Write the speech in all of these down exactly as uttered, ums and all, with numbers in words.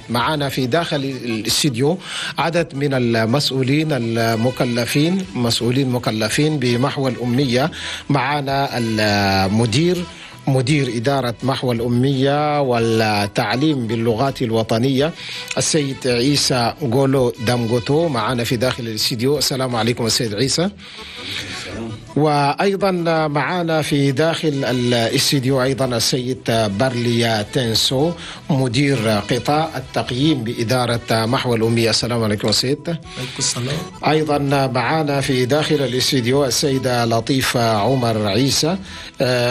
معنا في داخل الاستديو عدد من المسؤولين المكلفين، مسؤولين مكلفين بمحو الأمية. معنا المدير مدير إدارة محو الأمية والتعليم باللغات الوطنية السيد عيسى غولو دامغوتو معنا في داخل الاستديو. السلام عليكم السيد عيسى. وأيضا معنا في داخل الاستديو أيضا السيد برليا تنسو، مدير قطاع التقييم بإدارة محو الأمية. السلام عليكم السيد. عليكم السلام. أيضا معنا في داخل الاستديو السيدة لطيفة عمر عيسى،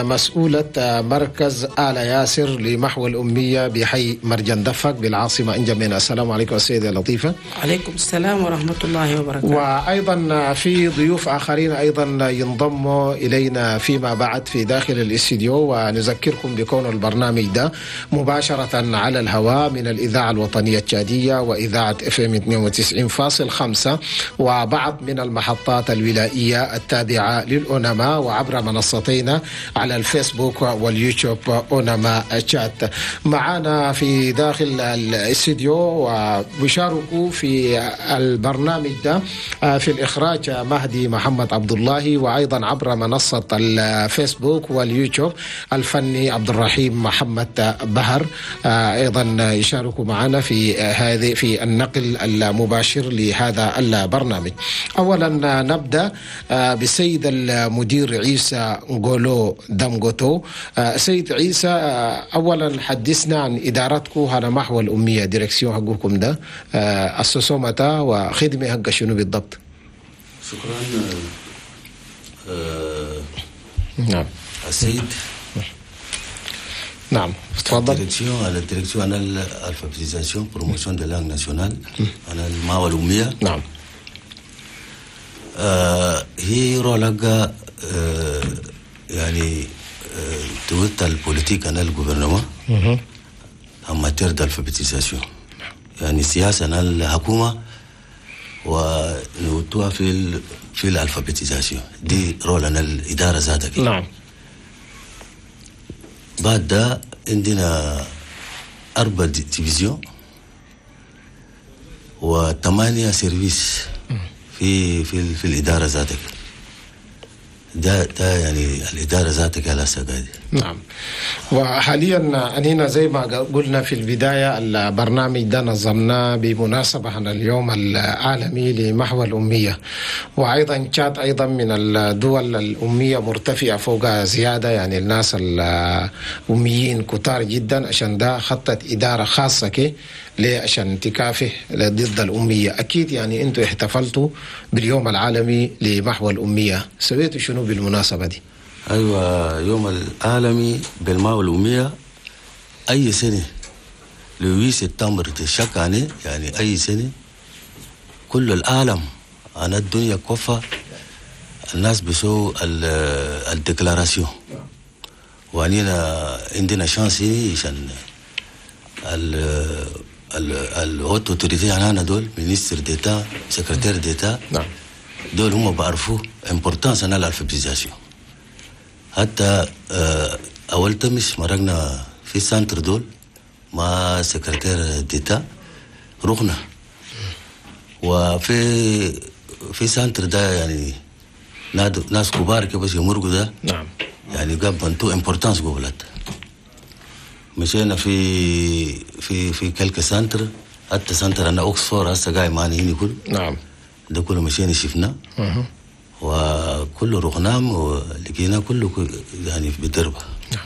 مسؤولة مركز آل ياسر لمحو الأمية بحي مرجندفك بالعاصمة إنجمينا. السلام عليكم السيدة لطيفة. عليكم السلام ورحمة الله وبركاته. وأيضا في ضيوف آخرين أيضا ينضموا إلينا فيما بعد في داخل الاستديو، ونذكركم بكون البرنامج ده مباشرة على الهواء من الإذاعة الوطنية التشادية وإذاعة اف ام اثنين وتسعين فاصل خمسة وبعض من المحطات الولائية التابعة للأونما، وعبر منصتين على الفيسبوك واليوتيوب أونما تشات. معنا في داخل الاستديو وبيشاركوا في البرنامج ده في الإخراج مهدي محمد عبد الله، وأيضا عبر منصة الفيسبوك واليوتيوب الفني عبد الرحيم محمد بهر، أيضا يشاركوا معنا في هذه في النقل المباشر لهذا البرنامج. أولا نبدأ بالسيد المدير عيسى غولو دامغوتو. سيد عيسى، أولا حدثنا عن إدارتكم هنا محو الأمية، direction حقكم ده أسسوا متى وخدمة حق شنو بالضبط؟ شكرا. آه نعم السيد. نعم تفضل. direction la direction هنا l'alphabétisation promotion des langues nationales هنا المحو الأمية. نعم. آه هي rôle حقها آه يعني آه توت ال politique هنا ال gouvernement en matière d'alphabétisation، يعني سياسة هنا الحكومة ونوتوها في ال في ال alphabétisation دي rôle هنا الإدارة ذاتها. نعم. بعد ده عندنا أربع divisions وثمانية services في في في الإدارة ذاتك. ده ده يعني الإدارة ذاتك على سجادة. نعم. وحاليا أنينا زي ما قلنا في البداية البرنامج ده نظمناه بمناسبة عن اليوم العالمي لمحو الأمية، وأيضا تشاد أيضا من الدول الأمية مرتفعة فوق زيادة، يعني الناس الأميين كتار جدا، عشان ده خطت إدارة خاصة كي ليه عشان تكافح ضد الأمية. أكيد يعني أنتوا احتفلتوا باليوم العالمي لمحو الأمية، سويتوا شنو بالمناسبة دي؟ أيوة، يوم العالمي بالمحو الأمية أي سنة le huit septembre chaque année، يعني أي سنة كل العالم أنا الدنيا كفة الناس بيسووا ال déclaration، وأنينا عندنا chance عشان ال ال hautes autorités هنا دول ministre d'État secrétaire d'État. نعم. دول هم بعرفوا importance هنا ال alphabétisation. حتى اول تمس مرقنا في centre دول مع secrétaire d'État رحنا، وفي في centre ده يعني ناس كبار كده بس يمرقوا ده. نعم. يعني جاب بنتو importance قبلت. مشينا في في في quelques centres، حتى centre هنا اوكسفورد هسه قاعد معنا هنا كله. نعم. ده كله مشينا شفنا وكله رحنام ولقينا كله يعني بالدربة. نعم.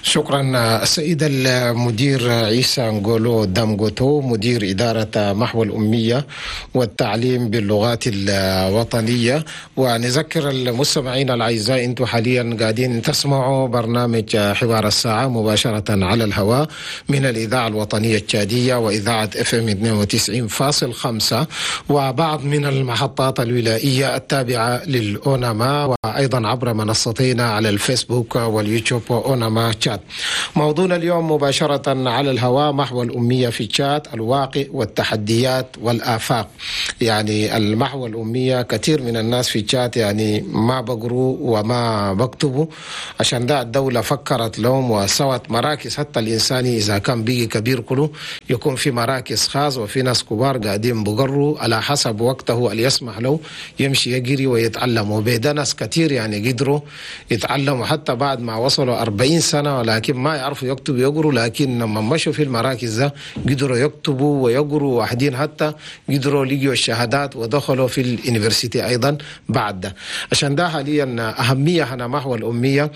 شكرا السيد المدير عيسى نغولو دامغوتو، مدير إدارة محو الأمية والتعليم باللغات الوطنية. ونذكر المستمعين الأعزاء أنتم حاليا قاعدين تسمعوا برنامج حوار الساعة مباشرة على الهواء من الإذاعة الوطنية التشادية وإذاعة اف ام اثنين وتسعين فاصل خمسة وبعض من المحطات الولائية التابعة للأونما، وأيضا وأيضا عبر منصتينا على الفيسبوك واليوتيوب وأوناما تشاد. موضوعنا اليوم مباشرة على الهواء: محو الأمية في تشاد، الواقع والتحديات والآفاق. يعني المحو الأمية كثير من الناس في تشاد يعني ما بقروا وما بكتبوا، عشان ده الدولة فكرت لهم وسوت مراكز، حتى الإنسان إذا كان بيجي كبير كله يكون في مراكز خاص وفي ناس كبار قاعدين بقروا على حسب وقته اللي يسمح له يمشي يجري ويتعلم. وبيدا ناس كثير يعني قدروا يتعلموا حتى بعد ما وصلوا أربعين سنة، ولكن ما يعرفوا يكتبوا يقروا، لكن لما مشوا في المراكز ده قدروا يكتبوا ويقروا، واحدين حتى قدروا لقيوا الشهادات ودخلوا في ال université أيضا بعد ده. عشان ده حاليا أهمية هنا محو الأمية،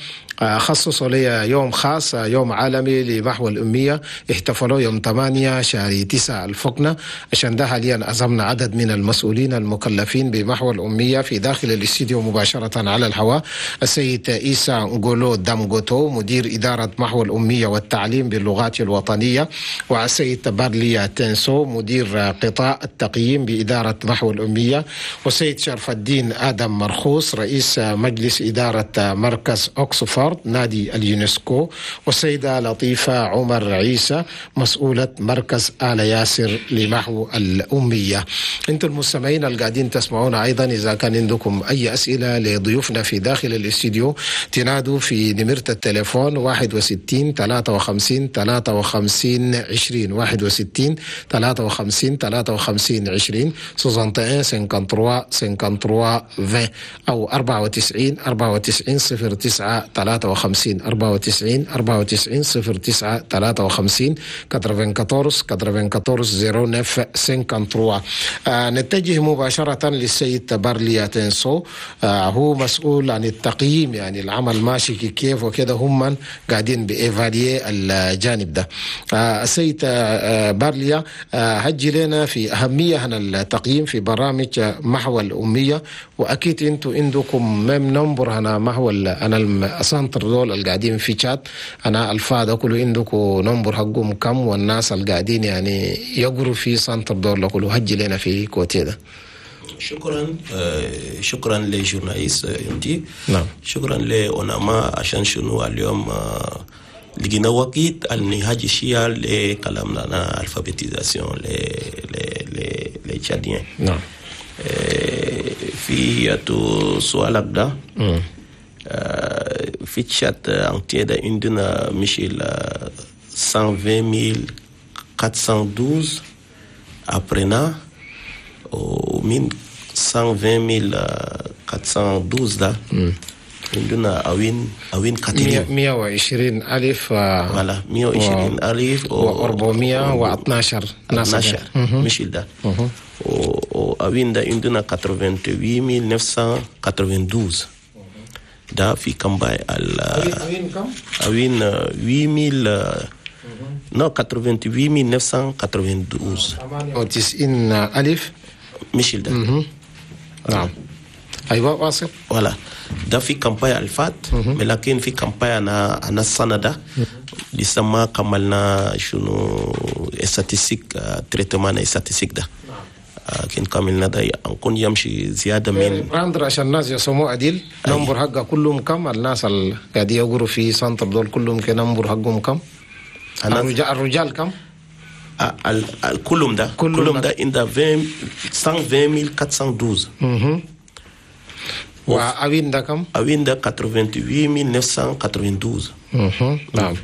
خصصوا لي يوم خاص، يوم عالمي لمحو الأمية، احتفلوا يوم ثمانية شهر تسعة الفقنة. عشان ده حاليا عزمنا عدد من المسؤولين المكلفين بمحو الأمية في داخل الاستديو مباشرة على الهواء: السيد إيسا نغولو دامغوتو مدير إدارة محو الأمية والتعليم باللغات الوطنية، والسيد بارليا تنسو مدير قطاع التقييم بإدارة محو الأمية، والسيد شرف الدين آدم مرخوص رئيس مجلس إدارة مركز أكسفورد نادي اليونسكو، والسيدة لطيفة عمر عيسى مسؤولة مركز آل ياسر لمحو الأمية. انتم المستمعين القاعدين تسمعونا أيضا، إذا كان عندكم أي أسئلة لضيوفنا في داخل الاستديو تنادوا في نمرة التليفون واحد وستين ثلاثة وخمسين ثلاثة وخمسين عشرين، واحد وستين ثلاثة وخمسين ثلاثة وخمسين عشرين، soixante et un cinquante-trois cinquante-trois vingt، أو أربعة وتسعين أربعة وتسعين صفر تسعة ثلاثة وخمسين، أربعة وتسعين أربعة وتسعين صفر تسعة ثلاثة وخمسين، quatre-vingt-quatorze quatre-vingt-quatorze zéro neuf cinquante-trois. آه نتجه مباشرة للسيد بارليا تنسو، آه هو مسؤول عن التقييم، يعني العمل ماشي كيف وكذا، هم قاعدين ب évaluer الجانب ده. آه السيد آه بارليا، آه هجي لنا في أهمية هنا التقييم في برامج محو الأمية، وأكيد أنتوا عندكم même nombre هنا محو أنا ال centres دول القاعدين في تشاد، أنا الفا كله عندكم nombre حقهم كم، والناس القاعدين يعني يقروا في centre دول كله، هجي لنا في côté ده. شكرا، آه، شكرا ل journaliste انتي. نعم. شكرا لأوناما عشان شنو اليوم آه، لقينا وقت النهاج شيا لكلامنا أنا alphabétisation les les les les Tchadiens. نعم. آه، في تو سؤالك ده، مم. آه، في تشاد entier ده عندنا مشي ل مية وعشرين ألف وأربعمية واتناشر apprenants، ومن مية وعشرين ألف وأربعمية واتناشر ده عندنا أوين أوين كثيرين. مية وعشرين ألف و voilà، مية وعشرين ألف وأربعمية واثناشر ناس. اتناشر مش ده، وأوين ده عندنا ثمانية وثمانين ألف وتسعمية واتنين وثمانين ده في campagne ال أوين كم؟ أوين ثمانية آلاف، non، ثمانية وثمانين ألف وتسعمية واتنين وثمانين. ثمانية وتسعين ألف. مش ده. نعم، أيوة، واصل. voilà، ده في campagne الفات، لكن في campagne أنا أنا السنة ده لسه ما كملنا شنو statistiques، traitement statistiques ده لكن كملنا ده نكون يمشي زيادة من prendre عشان الناس يسموه عديل، nombre حقه كلهم كم؟ الناس اللي قاعدين يقروا في centre دول كلهم ك nombre حقهم كم؟ أنا الرجال, الرجال كم؟ آه، ال- ال- كلهم ده كلهم كلهم ده. ده عند عشرين مية وعشرين ألف وأربعمية واتناشر. مهم. وأوين ده كم؟ أوين ده ثمانية وثمانين ألف وتسعمية واتنين وثمانين. مهم. نعم،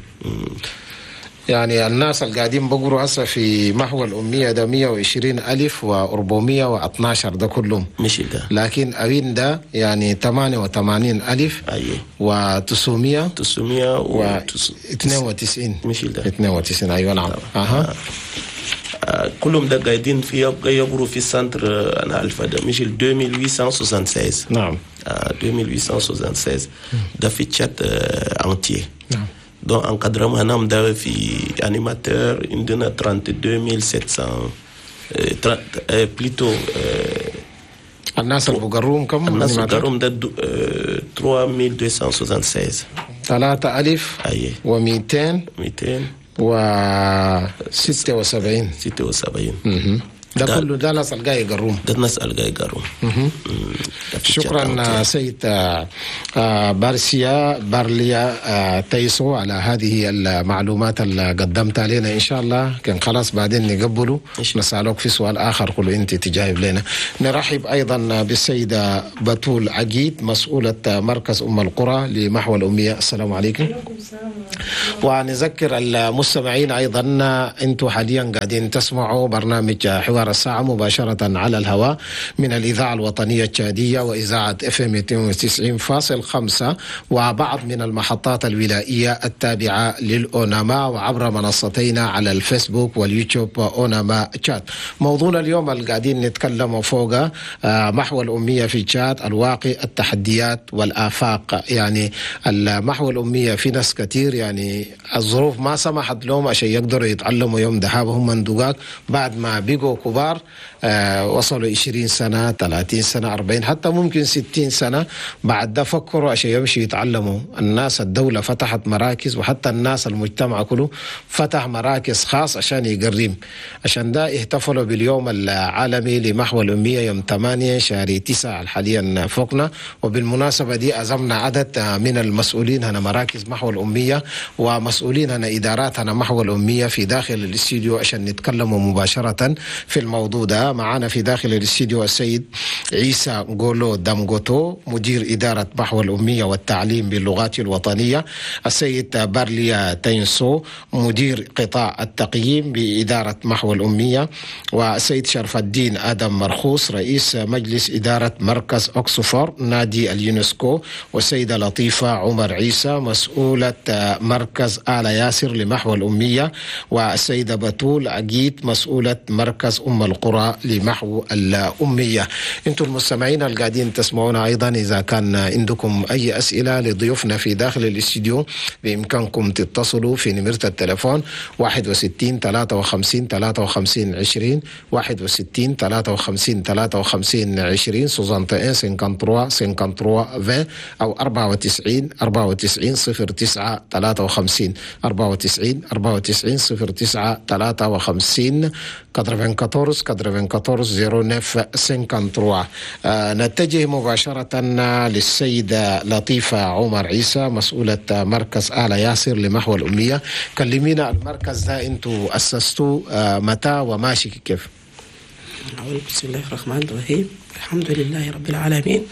يعني الناس اللي قاعدين بقروا هسه في محو الأمية ده مية وعشرين ألف وأربعمية واثناشر ده كلهم. مش ده. لكن أوين ده يعني ثمانية وثمانين ألف أيوه وتسعمية تسعمية و و اثنين وتسعين. مش ده. اثنين وتسعين، أيوة، نعم، أها. آه، كلهم ده قاعدين في يقروا في centre آه، أنا ألفا ده مش ال ألفين وثمانمية وستة وستين. نعم آه، ألفين وثمانمية وستة وستين ده في تشاد entier. نعم donc encadrement هنا ده في animateur عندنا اثنين وثلاثين ألف وسبعمية، آه، تر- آه، plutôt آه، الناس اللي بقروهم كم؟ الناس animateur؟ اللي ده دو- آه، ثلاثة آلاف ومئتين وستة وستين. ثلاثة ألف أي. ومئتين مئتين وستة وسبعين. ستة وسبعين. ده كله ده ناس الجاي يقروم. ده الناس الجاي يقروم. شكرا سيد بارسيا بارليا تيسو على هذه المعلومات اللي قدمتها لنا. إن شاء الله كان خلاص بعدين نقبله نسألك في سؤال آخر كله أنت تجاوب لنا. نرحب أيضا بالسيدة بتول عقيد مسؤولة مركز أم القرى لمحو الأمية. السلام عليكم. ونذكر المستمعين أيضا أنتم حاليا قاعدين تسمعوا برنامج حوار الساعة مباشرة على الهواء من الإذاعة الوطنية التشادية وإذاعة اف ام اثنين وتسعين فاصل خمسة وبعض من المحطات الولائية التابعة للأوناما وعبر منصتينا على الفيسبوك واليوتيوب أوناما تشاد. موضوعنا اليوم اللي قاعدين نتكلم فوقه محو الأمية في تشاد، الواقع، التحديات والآفاق. يعني المحو الأمية في ناس كتير يعني الظروف ما سمحت لهم عشان يقدروا يتعلموا يوم ذهابهم من دقاق بعد ما بقوا كبار، آه وصلوا عشرين سنة، ثلاثين سنة، أربعين، حتى ممكن ستين سنة، بعد ده فكروا عشان يمشوا يتعلموا. الناس الدولة فتحت مراكز، وحتى الناس المجتمع كله فتح مراكز خاص عشان يقريم. عشان ده احتفلوا باليوم العالمي لمحو الأمية يوم ثمانية شهر تسعة حاليا فوقنا. وبالمناسبة دي عزمنا عدد من المسؤولين هنا مراكز محو الأمية ومسؤولين هنا إدارات هنا محو الأمية في داخل الاستديو عشان نتكلموا مباشرة في الموضوع ده. معنا في داخل الاستديو السيد عيسى غولو دامغوتو مدير إدارة محو الأمية والتعليم باللغات الوطنية، السيد بارليا تينسو مدير قطاع التقييم بإدارة محو الأمية، والسيد شرف الدين آدم مرخوص رئيس مجلس إدارة مركز أكسفور نادي اليونسكو، والسيدة لطيفة عمر عيسى مسؤولة مركز آل ياسر لمحو الأمية، والسيدة بتول عقيد مسؤولة مركز أم القرى لمحو الأمية. انتم المستمعين القاعدين تسمعونا أيضا، إذا كان عندكم أي أسئلة لضيوفنا في داخل الاستديو بإمكانكم تتصلوا في نمرة التلفون واحد وستين ثلاثة وخمسين ثلاثة وخمسين عشرين، واحد وستين ثلاثة وخمسين ثلاثة وخمسين عشرين، soixante et un cinquante-trois cinquante-trois vingt، أو أربعة وتسعين أربعة وتسعين صفر تسعة ثلاثة وخمسين، أربعة وتسعين أربعة وتسعين صفر تسعة ثلاثة وخمسين، quatre-vingt-quatorze quatre-vingt-quatorze zéro neuf cinquante-trois. نتجه مباشرة للسيدة لطيفة عمر عيسى مسؤولة مركز آل ياسر لمحو الأمية. كلمينا المركز ده انتو أسستوه متى وماشي كيف؟ بسم الله الرحمن الرحيم، الحمد لله رب العالمين،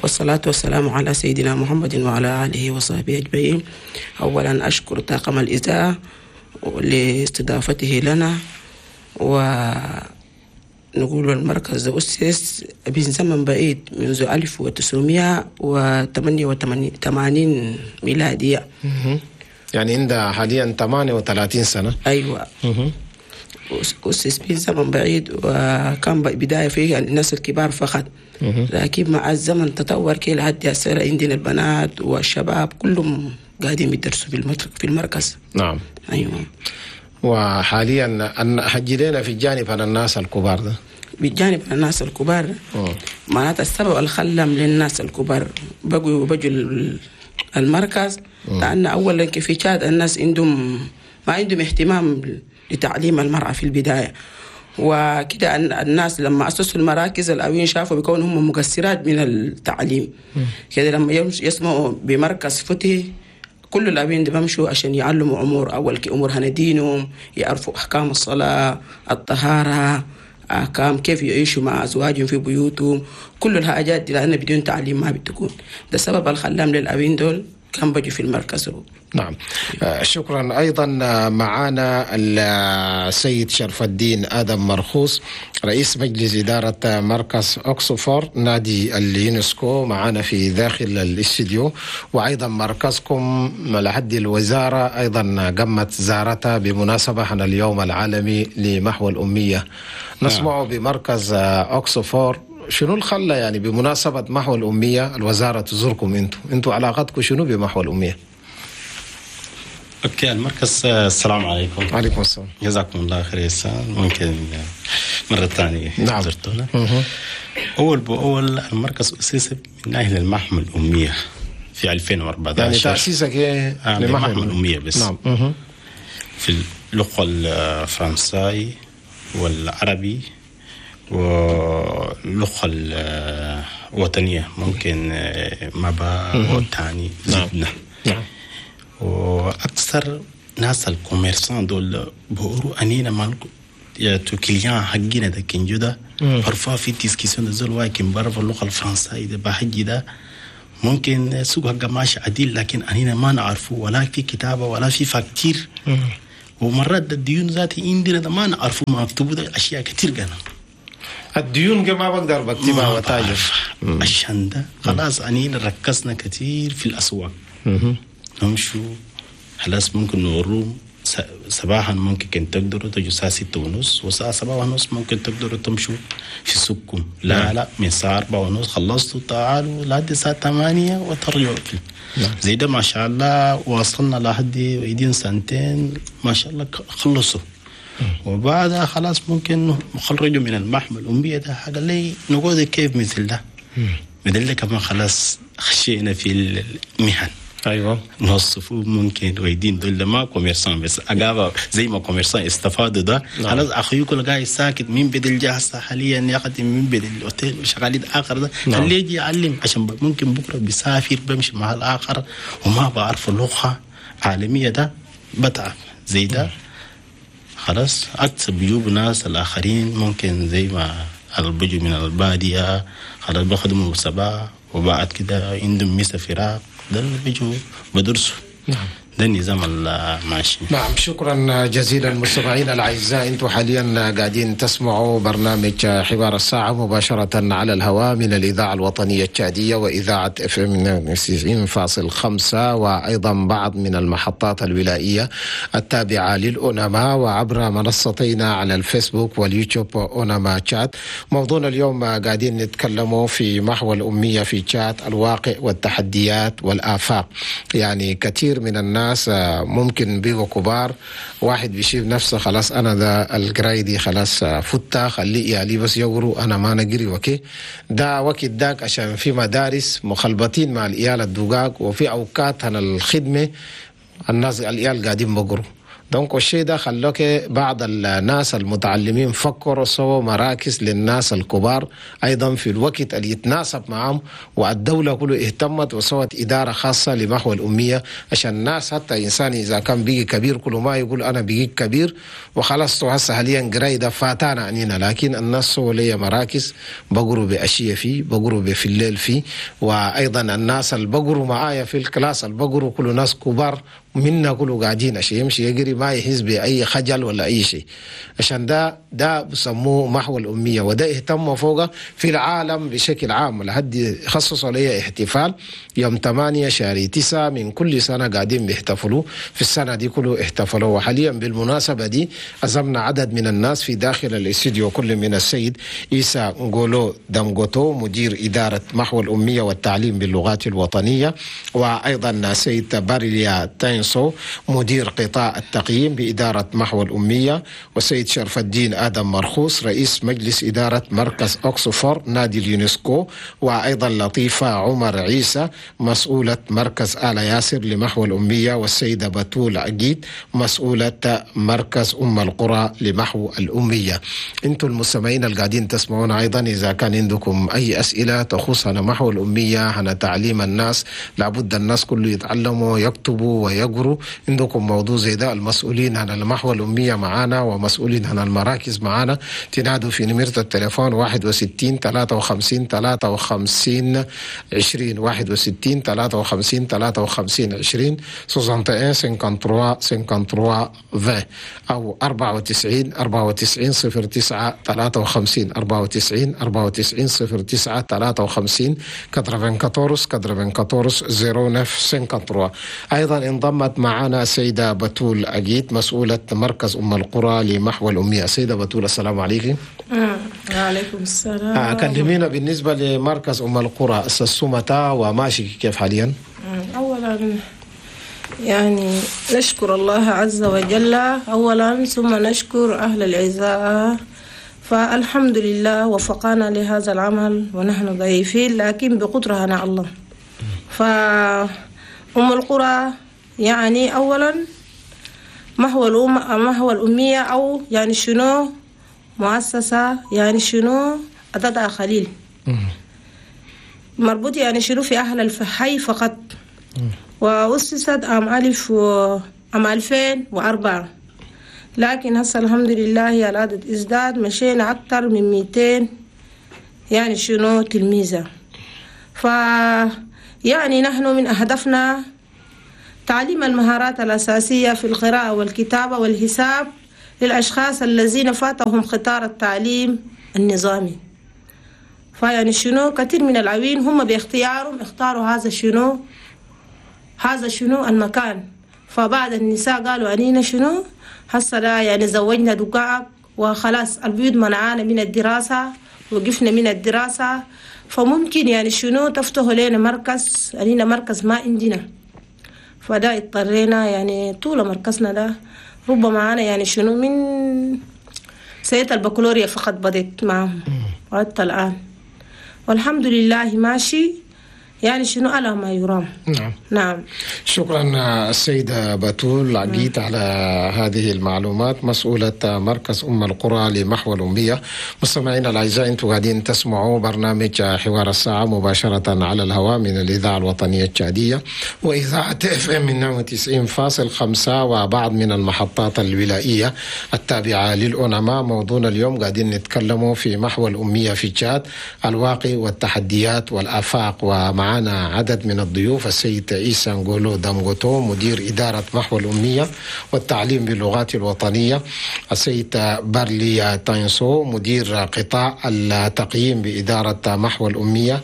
والصلاة والسلام على سيدنا محمد وعلى آله وصحبه أجمعين. أولا أشكر طاقم الإذاعة لاستضافته لنا، ونقول المركز أسس من زمن بعيد منذ ألف وتسعمائة وثمانية وثمانين ميلادية، يعني عندها حاليا ثمانية وثلاثين سنة. أيوة، أسس من زمن بعيد، وكان بداية فيه الناس الكبار فقط، لكن مع الزمن تطور كي لحد هسه عندنا البنات والشباب كلهم قاعدين يدرسوا في المركز. نعم. أيوة. وحاليا حجي لنا في الجانب على الناس الكبار ده. بالجانب على الناس الكبار معناتها السبب الخلم للناس الكبار بقوا بجوا المركز، لأن أولا في تشاد الناس عندهم ما عندهم اهتمام لتعليم المرأة في البداية وكده. الناس لما أسسوا المراكز الأوين شافوا بيكون هم مقصرات من التعليم كده، لما يسمعوا بمركز فتح كل الأبين دي بمشوا عشان يعلموا أمور، أول أمور هندينهم، يعرفوا أحكام الصلاة، الطهارة، أحكام كيف يعيشوا مع أزواجهم في بيوتهم، كل الحاجات دي، لأن بدون تعليم ما بتكون. ده سبب الخلام للأبين دول كان بجوا في المركز. نعم، شكرا. أيضا معنا السيد شرف الدين آدم مرخوص رئيس مجلس إدارة مركز أكسفور نادي اليونسكو معنا في داخل الاستديو، وأيضا مركزكم لحد الوزارة أيضا قمت زارتها بمناسبة عن اليوم العالمي لمحو الأمية. نسمع بمركز أكسفور، شنو الخلة يعني بمناسبة محو الأمية الوزارة تزوركم انتو انتو علاقتكم شنو بمحو الأمية؟ okay، المركز، السلام عليكم. وعليكم السلام، جزاكم الله خير يا سان. ممكن مرة ثانية. نعم. زرتونا. أول بأول المركز أسس من أهل المحو الأمية في ألفين وأربعة عشر. يعني تأسيسك إيه؟ آه، لمحو الأمية بس. نعم. مه. في اللغة الفرنساوي والعربي واللغة الوطنية ممكن مبا والتاني زدنا. نعم. وأكثر ناس ال commerçants دول بقولوا أنينا ما يا تو clients حقنا ده كنجو ده parfois في discussion ده زول واحد كان بعرف اللغة الفرنسية ده بحجي ده ممكن سوق حقه ماشي عديل، لكن أنينا ما نعرفه ولا في كتابة ولا في facture. ومرات الديون ذاتي عندنا ده ما نعرفه، ما مكتوب ده أشياء كتير قنا الديون ما بقدر بكتبها وتاجر. عشان ده خلاص أنينا ركزنا كتير في الأسواق. نمشوا خلاص ممكن نوروم صباحا ممكن كن تقدروا تجوا الساعة ستة ونص والساعة سبعة ونص ممكن تقدروا تمشوا في سوقكم. لا لا من الساعة أربعة ونص خلصتوا تعالوا لحد الساعة ثمانية وترجعوا في. زي ده ما شاء الله وصلنا لحد ويدين سنتين ما شاء الله خلصوا. وبعدها خلاص ممكن خرجوا من المحمل الأمية ده حاجة لي نقول كيف مثل ده مثل ده كمان خلاص خشينا في المهن. ايوه نوصفوه ممكن ويدين دول ما commerçants بس اقابا زي ما commerçants استفادوا ده. خلاص اخوي كل قاعد ساكت مين بدل جاهز حاليا يخدم مين بدل الاوتيل وشغالين اخر ده خليه يجي يعلم عشان ممكن بكره بيسافر بمشي مع الاخر وما بعرف اللغة عالمية ده بتعب زي ده. خلاص اكسب بيجيبوا ناس الاخرين ممكن زي ما بيجوا من البادية خلاص بخدموا صباح وبعد كده عندهم ميسة فراق ده اللي بيجوا بدرسوا. نعم. ده النظام الماشي. نعم شكرا جزيلا مستمعينا الاعزاء، انتم حاليا قاعدين تسمعوا برنامج حوار الساعة مباشرة على الهواء من الاذاعة الوطنية التشاديه واذاعة FM تسعين فاصل خمسة وايضا بعض من المحطات الولائيه التابعة للأوناما وعبر منصتينا على الفيسبوك واليوتيوب اوناما تشاد. موضوعنا اليوم قاعدين نتكلموا في محو الامية في تشاد، الواقع والتحديات والافاق. يعني كثير من الناس ناس ممكن بيبقوا كبار، واحد بيشيل نفسه خلاص انا ده القراية دي خلاص فتة خلي يعني بس يقروا انا ما نقري وكي ده وقت داك، عشان في مدارس مخلبطين مع العيال الدقاق وفي اوقات هنا الخدمة الناس العيال قاعدين بقروا. donc الشيء ده خلوك بعض الناس المتعلمين فكروا سووا مراكز للناس الكبار أيضا في الوقت اللي يتناسب معهم، والدولة كله اهتمت وسوت إدارة خاصة لمحو الأمية عشان الناس حتى إنسان إذا كان بيجي كبير كله ما يقول أنا بيجي كبير وخلاص هسه حاليا قراية ده فاتانا عنينا، لكن الناس سووا لي مراكز بقروا بأشياء فيه بقروا في الليل فيه، وأيضا الناس اللي بقروا معايا في ال classe اللي بقروا كله ناس كبار منا كله قاعدين عشان يمشي يجري ما يحس بأي خجل ولا أي شيء. عشان ده ده بسموه محو الأمية، وده اهتموا فوقه في العالم بشكل عام لحد خصصوا ليه احتفال يوم ثمانية شهر تسعة من كل سنة قاعدين بيحتفلوا في السنة دي كله احتفلوا. وحاليا بالمناسبة دي عزمنا عدد من الناس في داخل الاستديو، كل من السيد إيسا نغولو دامغوتو مدير إدارة محو الأمية والتعليم باللغات الوطنية، وأيضا السيد باريليا تاينسو مدير قطاع التقييم بإدارة محو الأمية، والسيد شرف الدين آدم مرخوص رئيس مجلس إدارة مركز أكسفور نادي اليونسكو، وأيضا لطيفة عمر عيسى مسؤولة مركز آل ياسر لمحو الأمية، والسيدة بتول عقيد مسؤولة مركز أم القرى لمحو الأمية. أنتم المستمعين القاعدين تسمعون أيضا إذا كان عندكم أي أسئلة تخص محو الأمية عن تعليم الناس، لابد الناس كله يتعلموا يكتبوا ويقروا. عندكم موضوع زي ده المسؤولين عن المحو الأمية معانا ومسؤولين عن المراكز معانا، تنادوا في نمرة التليفون واحد وستين ثلاثة وخمسين ثلاثة وخمسين عشرين، واحد وستين ثلاثة وخمسين ثلاثة وخمسين عشرين، soixante et un cinquante-trois cinquante-trois vingt، أو أربعة وتسعين أربعة وتسعين صفر تسعة ثلاثة وخمسين، أربعة وتسعين أربعة وتسعين صفر تسعة ثلاثة وخمسين، quatre-vingt-quatorze quatre-vingt-quatorze zéro neuf cinquante-trois. أيضا انضمت معنا السيدة بتول أجيت مسؤولة مركز أم القرى لمحو الأمية. السيدة بتول السلام عليكم. وعليكم السلام. آه كلمينا بالنسبة لمركز أم القرى السمتا وماشي كيف حاليا؟ أولا يعني نشكر الله عز وجل أولا، ثم نشكر أهل العزاء، فالحمد لله وفقنا لهذا العمل ونحن ضعيفين لكن بقدرة على الله. فأم القرى يعني أولا محو الأم محو الأمية أو يعني شنو مؤسسة يعني شنو عددها قليل، مربوط يعني شنو في أهل الحي فقط، وأسست عام ألف و عام ألفين وأربعة، لكن هسه الحمد لله العدد ازداد، مشينا أكثر من مئتين يعني شنو تلميذة. ف يعني نحن من أهدافنا تعليم المهارات الأساسية في القراءة والكتابة والحساب للأشخاص الذين فاتهم قطار التعليم النظامي. فيعني شنو كثير من العوين هم باختيارهم اختاروا هذا شنو هذا شنو المكان. فبعض النساء قالوا أنينا شنو هسه يعني زوجنا دقائق وخلاص البيوت منعانا من الدراسة، وقفنا من الدراسة، فممكن يعني شنو تفتحوا لنا مركز، أنينا مركز ما عندنا. فده اضطرينا يعني طول مركزنا ده ربما أنا يعني شنو من سنة البكالوريا فقط بديت معهم وحتى الآن والحمد لله ماشي يعني شنو على ما يرام. نعم نعم. شكرا السيدة بتول عقيت على هذه المعلومات، مسؤولة مركز أم القرى لمحو الأمية. مستمعينا الأعزاء، أنتم قاعدين تسمعوا برنامج حوار الساعة مباشرة على الهواء من الإذاعة الوطنية التشادية وإذاعة اف ام اثنين وتسعين فاصل خمسة وبعض من المحطات الولائية التابعة للأونما. موضوعنا اليوم قاعدين نتكلموا في محو الأمية في تشاد، الواقع والتحديات والآفاق، ومعنا عدد من الضيوف: السيد عيسى نغولو دامغوتو مدير إدارة محو الأمية والتعليم باللغات الوطنية، السيد بارلي تاينسو مدير قطاع التقييم بإدارة محو الأمية،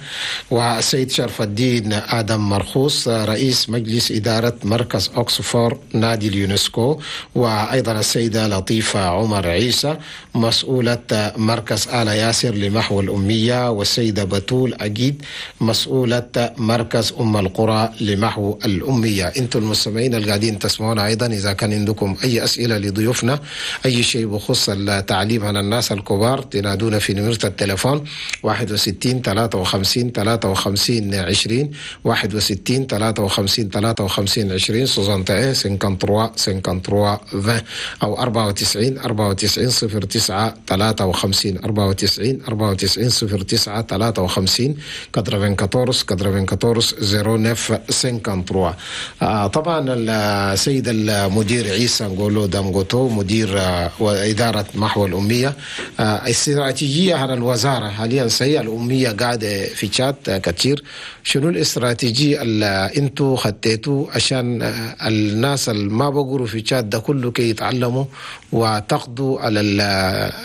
والسيد شرف الدين آدم مرخوص رئيس مجلس إدارة مركز أكسفور نادي اليونسكو، وأيضا السيدة لطيفة عمر عيسى مسؤولة مركز آل ياسر لمحو الأمية، والسيدة بتول أجيد مسؤولة مركز أم القرى لمحو الأمية. أنتم المستمعين القاعدين تسمعونا أيضا، إذا كان عندكم أي أسئلة لضيوفنا، أي شيء بخص التعليم عن الناس الكبار، تنادونا في نمرة التليفون واحد وستين ثلاثة وخمسين ثلاثة وخمسين عشرين، واحد وستين ثلاثة وخمسين ثلاثة وخمسين عشرين، soixante et un cinquante-trois cinquante-trois vingt، أو أربعة وتسعين أربعة وتسعين صفر تسعة ثلاثة وخمسين، أربعة وتسعين أربعة وتسعين صفر تسعة ثلاثة وخمسين، quatre-vingt-quatorze quatre-vingt-quatorze zéro neuf cinquante-trois. آه طبعا السيد المدير عيسى نغولو دامغوتو مدير آه وإدارة محو الأمية، آه الاستراتيجية على الوزارة حاليا سيئة، الأمية قاعدة في تشاد آه كثير. شنو الاستراتيجية اللي انتو خطيتوا عشان آه الناس اللي ما بقروا في تشاد ده كله كي يتعلموا وتقضوا على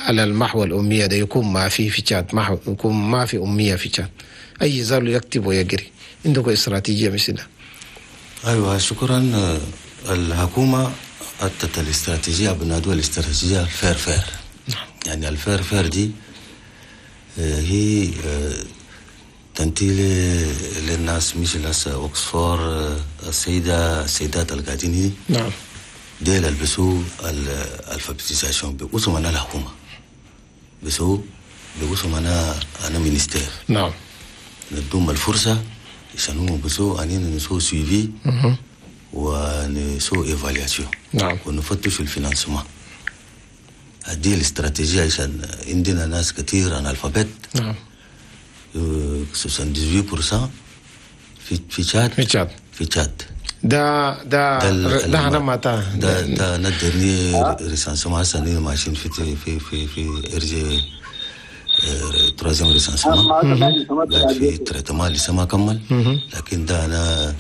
على المحو الأمية ده، يكون ما في في تشاد محو، يكون ما في أمية في تشاد، أي زول يكتب ويقري؟ عندكم استراتيجية مثلها؟ أيوة شكرا. الحكومة أتت الاستراتيجية بنادوها الاستراتيجية ال faire faire. يعني ال faire faire دي هي تنتهي للناس مثل أكسفور، السيدة السيدات القاعدين هنا. نعم. ديل البسوا ال alphabétisation بيقسم أنا الحكومة بسوا بيقسم أنا أنا ministère. نعم. ندوم الفرصة عشان هم بسوا أننا نسو suivi ونسو évaluation. نعم. ونفتش ال financement. هذه الاستراتيجية عشان عندنا ناس كثير analphabètes. نعم. تسعة وسبعين بالمئة في في تشاد في تشاد في تشاد ده ده ده انا ما تا ده ده ال dernier recensement هسه ماشيين في في في في ارجي troisième recensement في traitement لسه ما كمل، لكن ده انا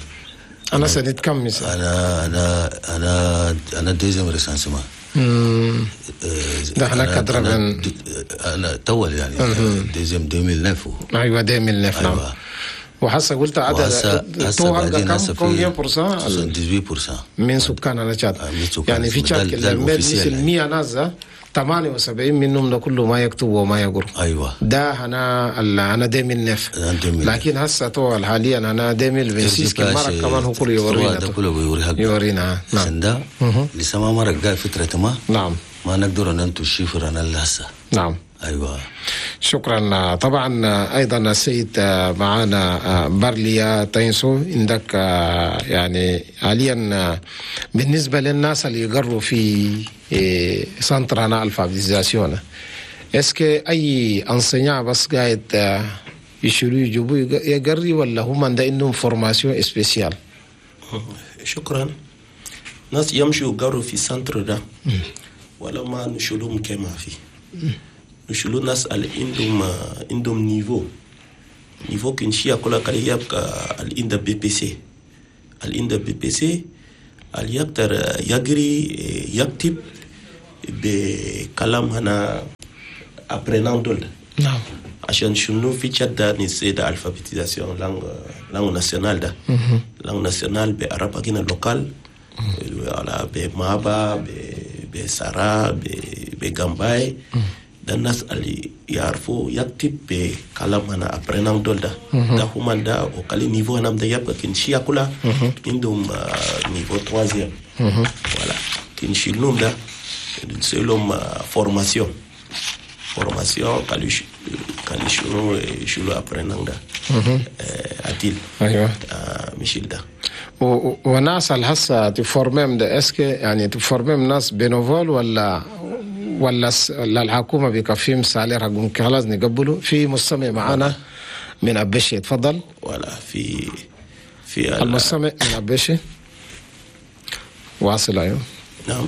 انا سنة كم انا انا انا انا deuxième recensement ده احنا كدربن انا طول يعني deuxième ألفين وتسعة. ايوه ألفين وتسعة. نعم. وحسا قلت عدد تو كم كم pour cent ثمانية وعشرين بالمئة من سكان تشاد، يعني في تشاد مثل مئة ناس ثمانية وسبعين منهم ده كله ما يكتب وما يقرأ. ايوه ده انا انا ألفين وتسعة، لكن هسه تو حاليا انا ألفين وستة كم كمان هو كله يورينا ده كله بيوريها يورينا. نعم. ده لسه ما مرق فترة ما. نعم. ما نقدر ننتو ال chiffre انا لسه. نعم. ايوه شكرا. طبعا ايضا السيد معانا بارليا تاينسو، عندك يعني حاليا بالنسبه للناس اللي يقروا في centre انا alphabétisation، est-ce que اي enseignant بس قاعد آه، يشيلوا يجيبوا يقري ولا هم ده عندهم formation spéciale؟ شكرا. ناس يمشوا قروا في centre ده ولا ما نشيلهم كما في نشيلوا ناس اللي عندهم عندهم niveau niveau كنشي كل كلي يبقى اللي عنده BEPC، اللي عنده BEPC اللي يقدر يقري يكتب بكلام هنا apprenant دول. نعم عشان شنو في تشاد ده نسي ده alphabétisation langue langue nationale ده langue nationale بعرب حقنا local ولا بمابا بسارا بجامباي ده الناس اللي يعرفوا يكتب بكلام هنا apprenant دول ده ده هما ده وكالي niveau هنا ده يبقى كنشي كلها عندهم niveau troisième، voilà. كنشيلهم ده نسيلهم formation formation قالوا قالوا شنو يشيلوا apprenant ده عديل. ايوه مشيل ده. وناس الهسه تفورميم ده est-ce que يعني تفورميم ناس bénévoles ولا ولا الحكومة بيكفيهم salaire حقهم خلاص نقبلوا؟ في مستمع معانا من ابشي، تفضل. ولا في في المستمع من ابشي واصل، ايوه. نعم،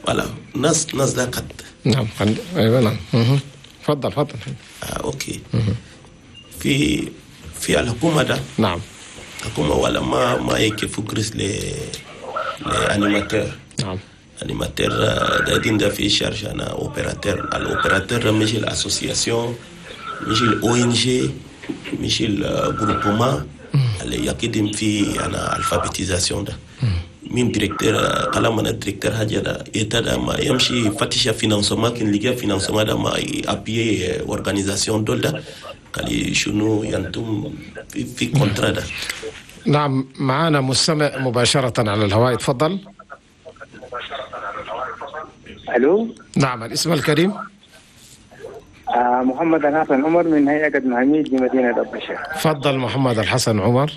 voilà، ناس ناس ده قد نعم، ايوه نعم، تفضل تفضل. آه OK، في في الحكومة ده. نعم الحكومة ولا ما ما يكفوا قرش ل les animateurs. نعم animateur دايرين ده في charge انا opérateur، ال opérateur مش ال association، مش ال ONG، مش ال groupement اللي يقدم في انا alphabétisation ده من directeur كلام انا directeur حاجة ده ده ما يمشي يفتش financement، كان لقى financement ده ما appuyer organisation دول ده قال شنو ينتم في, في contrat ده. نعم، معنا مستمع مباشرة على الهواء، تفضل. الو. نعم، الاسم الكريم؟ آه محمد الحسن عمر من هيئة محميد بمدينة أبشر. تفضل محمد الحسن عمر.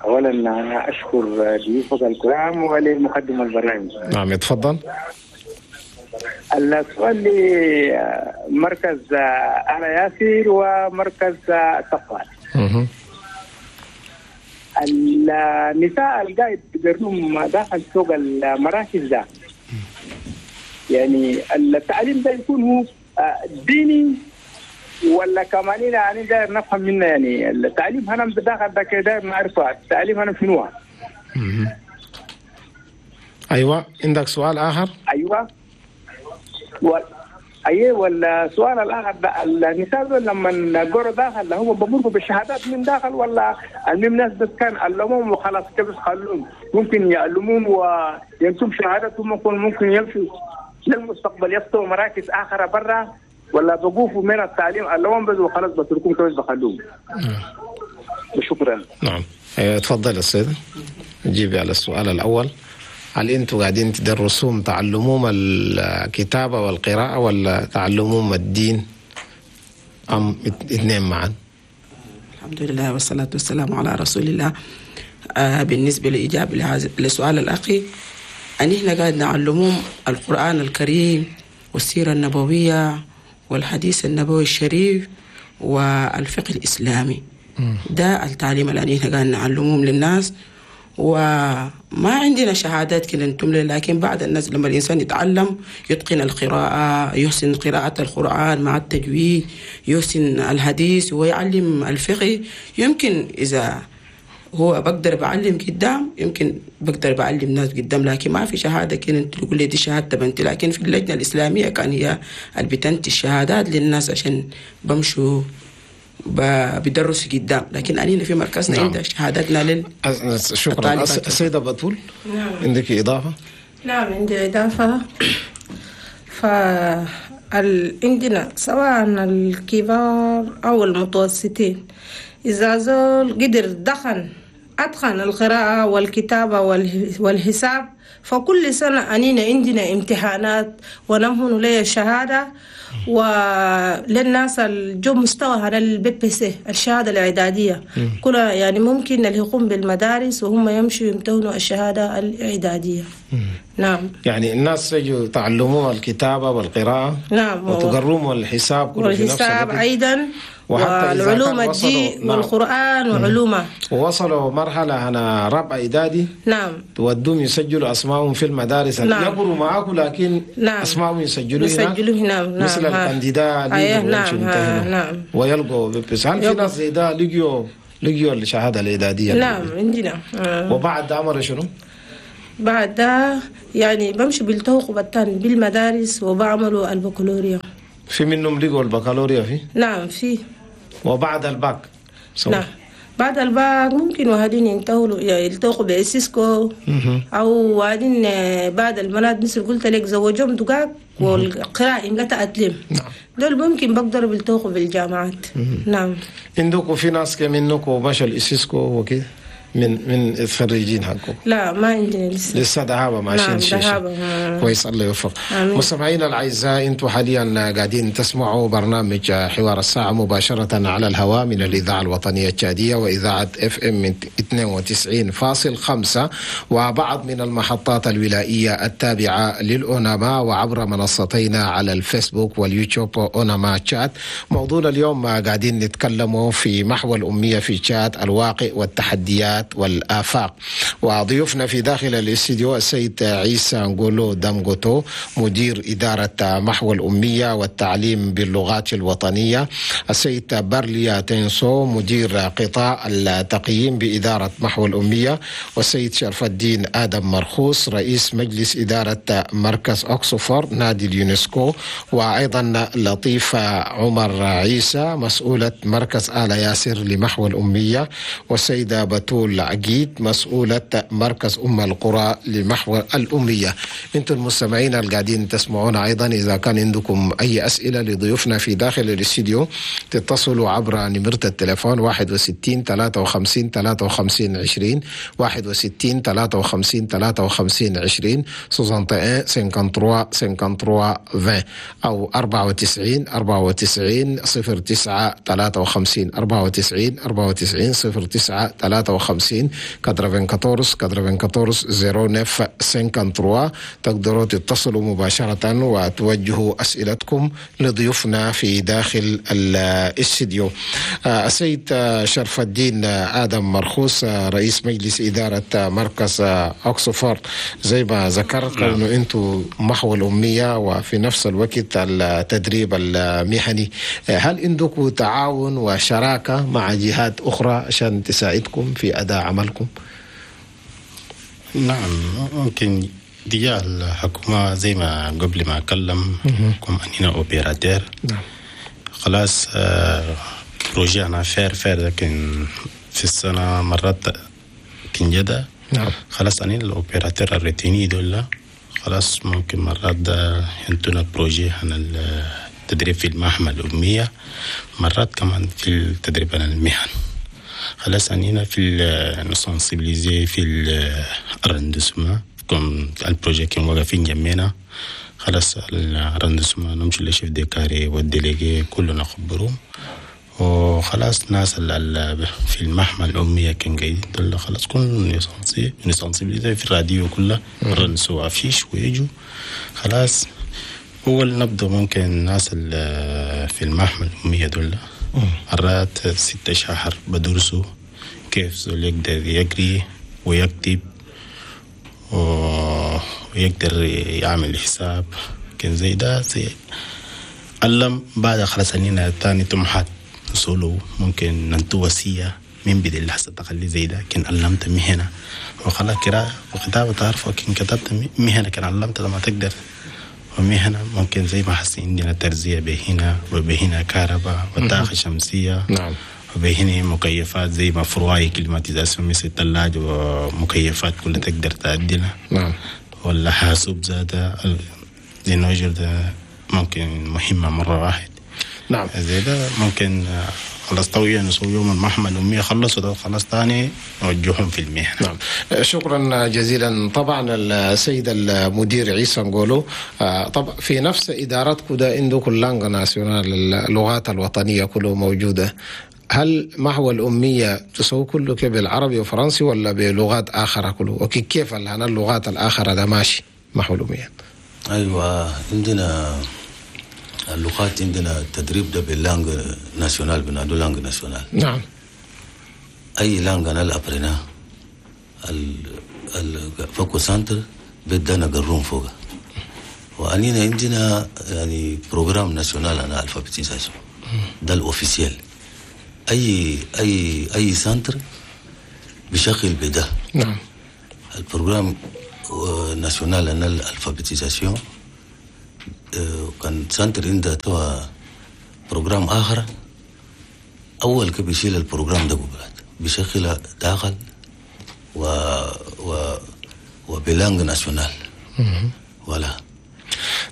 أولا أنا أشكر ضيوفك الكرام ولمقدم البرنامج. نعم، تفضل. السؤال لمركز آل ياسر ومركز التقوى. النساء القاعد بيقرنهم داخل سوق المراكز ده، يعني التعليم ده يكون هو ديني ولا كمان؟ يعني داير نفهم منه، يعني التعليم هنا داخل ده كده نعرفه التعليم هنا شنو. ايوه، عندك سؤال اخر؟ ايوه و... ايوه، والسؤال الاخر ده النساء دول لما قروا داخل هم بمروا بالشهادات من داخل ولا المهم ناس بس كان علموهم وخلاص كده خلوهم ممكن يعلموهم وينتم شهادتهم ممكن ممكن يمشوا للمستقبل يفتحوا مراكز اخرى برا ولا بقوفوا من التعليم علموهم بس وخلاص بتركوهم كويس بخلوهم؟ شكرا. نعم، تفضل السيد، جيبي على السؤال الاول. هل انتم قاعدين تدرسوهم تعلموهم الكتابة والقراءة ولا تعلموهم الدين أم اثنين معا؟ الحمد لله والصلاة والسلام على رسول الله. آه بالنسبة لإجابة لسؤال الأخي، أن إحنا قاعد نعلمهم القرآن الكريم والسيرة النبوية والحديث النبوي الشريف والفقه الإسلامي. ده التعليم اللي إحنا قاعد نعلمهم للناس، وما عندنا شهادات كده نتم، لكن بعد الناس لما الإنسان يتعلم يتقن القراءة، يحسن قراءة القرآن مع التجويد، يحسن الحديث ويعلم الفقه، يمكن إذا هو بقدر بعلم قدام، يمكن بقدر بعلم ناس قدام، لكن ما في شهادة كده انت تقول لي دي شهادة بنتي. لكن في اللجنة الإسلامية كان هي اللي بتنتي الشهادات للناس عشان بمشوا بدرس قدام، لكن أنينا في مركزنا نعم. عندنا شهادتنا لل شكرا. السيدة بتول. نعم. عندك إضافة؟ نعم، عندي إضافة. ف عندنا سواء الكبار أو المتوسطين إذا زول قدر دخل أتقن القراءة والكتابة والحساب. فكل سنة أنينا عندنا امتحانات ونمهن لي الشهادة، وللناس الجو مستوى هذا ال BEPC الشهادة الإعدادية كلها، يعني ممكن اللي يقوم بالمدارس وهم يمشوا يمتهنوا الشهادة الإعدادية. نعم. يعني الناس يجوا تعلموا الكتابة والقراءة. نعم. وتقرموا الحساب كله في نفس والحساب أيضا، والعلوم الدين. نعم. والقرآن وعلومه. ووصلوا مرحلة أنا رابعة إعدادي. نعم. تودهم يسجلوا أسمائهم في المدارس. نعم. يقروا معاكم لكن نعم. أسمائهم يسجلوا هنا. يسجلوا هنا. نعم. مثل ال candidat. أيه. نعم. نعم. ويلقوا بس هل في ناس زي ده لقيوا لقيوا الشهادة الإعدادية؟ نعم عندنا. آه. وبعد عمر شنو؟ بعد ده يعني بمشي بالتوقف الثاني بالمدارس وبعملوا البكالوريا. في منهم لقوا البكالوريا في؟ نعم في. وبعد الباك؟ سوى. نعم بعد الباك ممكن وهادين ينتهوا يلتقوا ب ISESCO، او وهادين بعد البنات مثل قلت لك زوجهم دقاق والقراءة لا تأتلم. نعم. دول ممكن بقدروا بيلتقوا بالجامعات. نعم. عندكم في ناس كمنكم مشوا ال ISESCO وكده من من الخريجين حقكم؟ لا ما عندنا لسه. لسه دهابة ماشيين. نعم شيء دهابة. كويس، الله يوفق. مستمعينا الاعزاء، انتم حاليا قاعدين تسمعوا برنامج حوار الساعة مباشرة على الهواء من الاذاعة الوطنية التشاديه واذاعة FM اثنين وتسعين فاصل خمسة وبعض من المحطات الولائيه التابعة للاوناما، وعبر منصتينا على الفيسبوك واليوتيوب اوناما تشاد. موضوعنا اليوم قاعدين نتكلموا في محو الامية في تشاد، الواقع والتحديات والآفاق. وضيوفنا في داخل الاستديو السيد عيسى نقولو دامغوتو، مدير إدارة محو الأمية والتعليم باللغات الوطنية، السيد برليا تنسو، مدير قطاع التقييم بإدارة محو الأمية، والسيد شرف الدين آدم مرخوص، رئيس مجلس إدارة مركز أكسفورد نادي اليونسكو، وأيضا لطيفة عمر عيسى، مسؤولة مركز آل ياسر لمحو الأمية، والسيدة بتول عقيد، مسؤولة مركز أم القرى لمحو الأمية. أنتم المستمعين القاعدين تسمعونا أيضا، إذا كان عندكم أي أسئلة لضيوفنا في داخل الاستديو تتصلوا عبر نمرة التليفون واحد وستين ثلاثة وخمسين ثلاثة وخمسين عشرين، واحد وستين ثلاثة وخمسين ثلاثة وخمسين عشرين، soixante et un cinquante-trois cinquante-trois vingt، أو أربعة وتسعين أربعة وتسعين صفر تسعة ثلاثة وخمسين، أربعة وتسعين أربعة وتسعين صفر تسعة ثلاثة وخمسين، quatre-vingt-quatorze quatre-vingt-quatorze zéro neuf cinquante-trois. تقدروا تتصلوا مباشرة وتوجهوا أسئلتكم لضيوفنا في داخل الاستديو. السيد شرف الدين آدم مرخوص، رئيس مجلس إدارة مركز أكسفورد، زي ما ذكرت أنه أنتم محو الأمية وفي نفس الوقت التدريب المهني، هل عندكم تعاون وشراكة مع جهات أخرى عشان تساعدكم في أداء عملكم؟ نعم ممكن دي الحكومة زي ما قبل ما أكلم كم أننا opérateur. نعم. خلاص آه projet أنا فير فير لكن في السنة مرات كنجدة. نعم. خلاص أنا ال opérateur ال retenu دول خلاص ممكن مرات ده ينتونا projet عن التدريب في المحمل الأمية، مرات كمان في التدريب عن المهن. خلاص أنينا في ن sensibiliser في ال arrondissement comme ال projet كان واقفين جنبنا. خلاص ال arrondissement نمشي لل chef de carré وال délégué كلنا نخبرهم، وخلاص ناس في المحمل الأمية كان قاعدين دول خلاص كلنا ن sensibiliser في الراديو كله رنسوا affiches ويجوا. خلاص أول نبدأ ممكن الناس في المحمل الأمية دول مرات ستة شهر بدرسوا كيف زول يقدر يقري ويكتب ويقدر يعمل حساب كان زي ده زي علم. بعد خلاص أننا تاني طموحات نسولو ممكن ننتو وصية من بدي اللحظة تخلي زي ده كان علمت مهنة وخلاص قراءة وكتابة تعرف، وكان كتبت مهنة كان علمت لما تقدر. ومهنة ممكن زي ما حسين عندنا ترزية بهنا وبهنا كهرباء وطاقة شمسية. نعم. وبهنا مكيفات زي ما froid climatisation مثل الثلاجة ومكيفات كلها تقدر تعدلها. نعم. ولا حاسوب زاد زي نوجر ده ممكن مهمة مرة واحد. نعم. زي ده ممكن خلاص توعية نسوي يوم المحو الأمية خلصوا ده خلاص تاني نوجههم في المهنة. نعم، شكرا جزيلا. طبعا السيد المدير عيسى نقولوا طبعا في نفس إدارتكم ده عندكم langues nationales، اللغات الوطنية كله موجودة. هل محو الأمية تسوي كله كيف بالعربي وفرنسي ولا بلغات آخرى كله؟ وكيف اللغات الآخرى ده ماشي محو الأمية؟ أيوة، عندنا اللغات، عندنا التدريب ده بال langues nationales، بنادو langues nationales. نعم. أي langue أنا apprenant ال فوق centre بدنا نقرون فوق، وأنينا عندنا يعني programme national أنا alphabétisation ده ال officiel. أي أي أي centre بشغل بده. نعم. ال programme national أنا ال alphabétisation كان centre عنده توا programme آخر، أول كي بيشيل ال programme ده قبلات بيشغل داخل و و وب langue nationale ولا.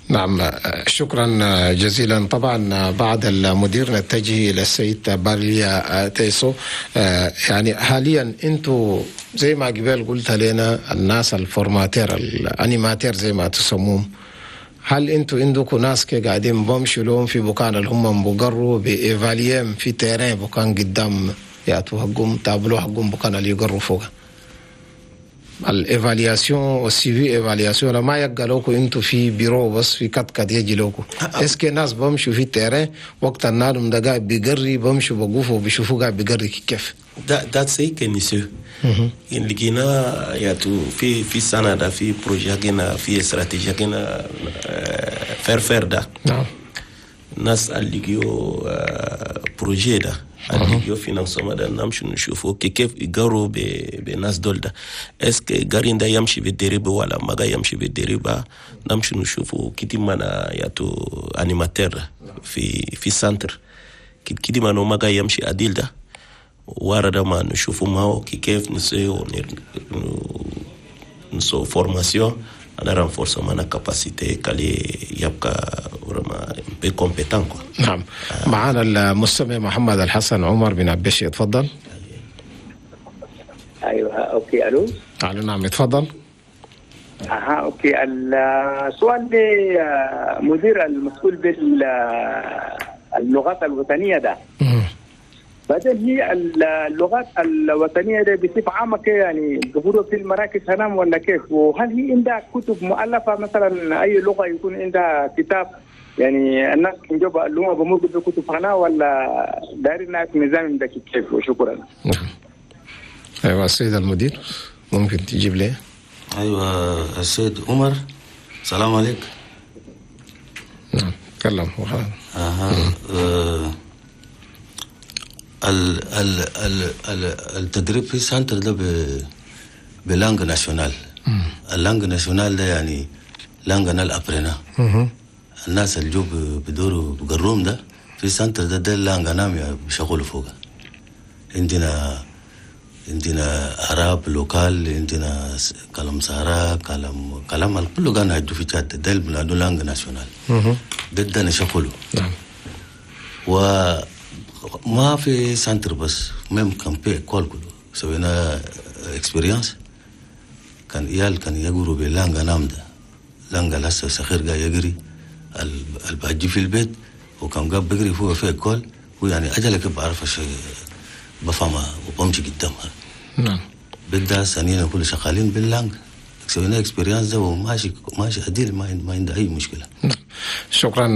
نعم، شكرا جزيلا. طبعا بعد المدير نتجه الى السيد بارليا تيسو. يعني حاليا انتم زي ما قبل قلت لنا الناس ال formateurs ال animateurs زي ما تسموهم، هل انتوا عندكم ناس كي قاعدين بمشوا لهم في بكان اللي هم بقروا ب évaluer في terrain بكان قدام ياتوا حقهم تابلو حقهم بكان اللي يقروا فوق ال évaluation وال suivi évaluation؟ ما يبقى لكم انتوا في بيرو بس في كت كت يجي لكم. est-ce que ناس بمشوا في terrain وقت النادم ده قاعد بيقري بمشوا بقوفوا بيشوفوا قاعد بيقري كيف؟ ده ده c'est كنيسو لقينا ياتو في في سنة ده في projet كنا في استراتيجية كنا faire faire ده. نعم. الناس اللي لقيو projet ده اللي لقيو financement ده نمشي نشوفوا كيف يقروا بناس دول ده، est-ce que قارين ده يمشي بالدريبة ولا ما يمشي بالدريبة. نمشي نشوفوا كتير منا ياتو animateur في في centre كتير ما ما يمشي عديل ده ورا ما نشوفوا معه كيف نسيو نسو formation أنا renforcement أنا capacité كالي يبقى vraiment un peu compétent quoi. نعم. آه. معنا المستمع محمد الحسن عمر بن عبشي، اتفضل. ايوه okay الو. الو نعم اتفضل. اها okay. السؤال لمدير المسؤول باللغات الوطنية ده. بعدين هي اللغات الوطنية دي بصفة عامة كيف يعني ظهورها في المراكز هنام ولا كيف؟ وهل هي عندها كتب مؤلفه مثلا اي لغة يكون عندها كتاب يعني الناس يجوب اللغة بمر بكتب هنا ولا دايرين الناس نظام ده كيف؟ وشكرا. نعم. ايوه السيد المدير ممكن تجيب لي؟ ايوه السيد عمر، السلام عليك. نعم تكلم. اها آه. ال ال ال ال التدريب في centre ده ب langue nationale. ال langue nationale ده يعني langue نال apprenant. الناس اللي جو بدوروا بقروم ده في centre ده ده ال langue نام بيشغلوا فوق. عندنا عندنا arabe local، عندنا كلام سارا، كلام كلام كله كان هجو في تشاد ده بنادو langue nationale ده ده نشغله. نعم. و ما في centre بس même كان في école كله سوينا expérience كان عيال كان يقروا ب langue نام ده langue لسه صغير قاعد يقري الباجي في البيت وكان قاعد بيقري فوق في école ويعني اجلك بعرف شيء بفهمها وبمشي قدامها. نعم. بدها سنين كل شغالين بال langue سوينا expérience ده وماشي ماشي عديل ما ما عنده اي مشكلة. شكرا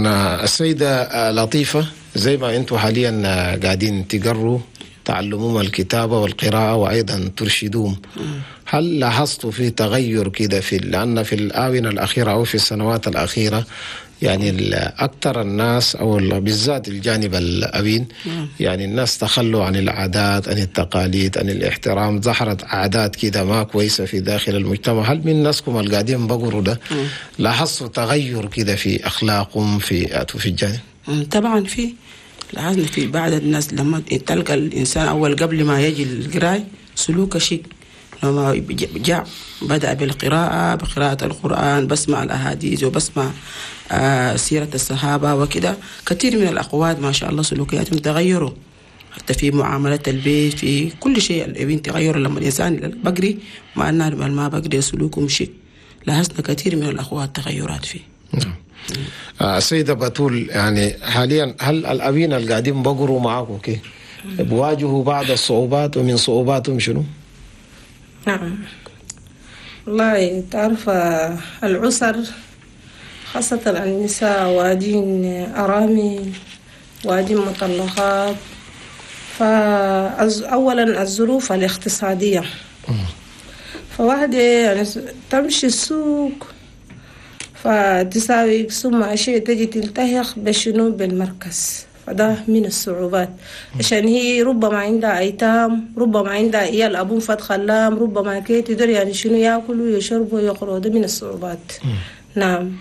السيدة لطيفة. زي ما انتم حاليا قاعدين تقروا تعلموهم الكتابة والقراءة وايضا ترشدوهم، هل لاحظتوا في تغير كده في لان في الاونة الاخيرة او في السنوات الاخيرة يعني اكثر الناس او بالذات الجانب الابين يعني الناس تخلوا عن العادات عن التقاليد عن الاحترام، ظهرت عادات كده ما كويسة في داخل المجتمع. هل من ناسكم القاعدين بقروا ده لاحظتوا تغير كده في اخلاقهم في في الجانب؟ طبعا في لاحظنا في بعض الناس لما تلقى الانسان اول قبل ما يجي القراي سلوكه شيء، لما جاء بدأ بالقراءة بقراءة القرآن، بسمع الأحاديث وبسمع آه سيرة الصحابة وكده، كثير من الأقوات ما شاء الله سلوكياتهم تغيروا. حتى في معاملة البيت، في كل شيء الأبين تغير لما الإنسان بقري مع النار ما بقري سلوكهم شيء. لاحظنا كثير من الأخوات تغيرات فيه. نعم. آه سيدة بتول، يعني حاليا هل الأبين اللي قاعدين بقروا معاكم كي بواجهوا بعض الصعوبات، ومن صعوباتهم شنو؟ نعم والله تعرف العسر خاصة النساء وادين أرامل وادين مطلقات. فأولا الظروف الاقتصادية، فواحدة يعني تمشي السوق فتساوي ثم أشياء تجي تلتحق بشنو بالمركز، فده من الصعوبات عشان هي ربما عندها أيتام، ربما عندها عيال أبوهم فات خلام، ربما كي تدري يعني شنو يأكلوا يشربوا يقروا، ده من الصعوبات. نعم.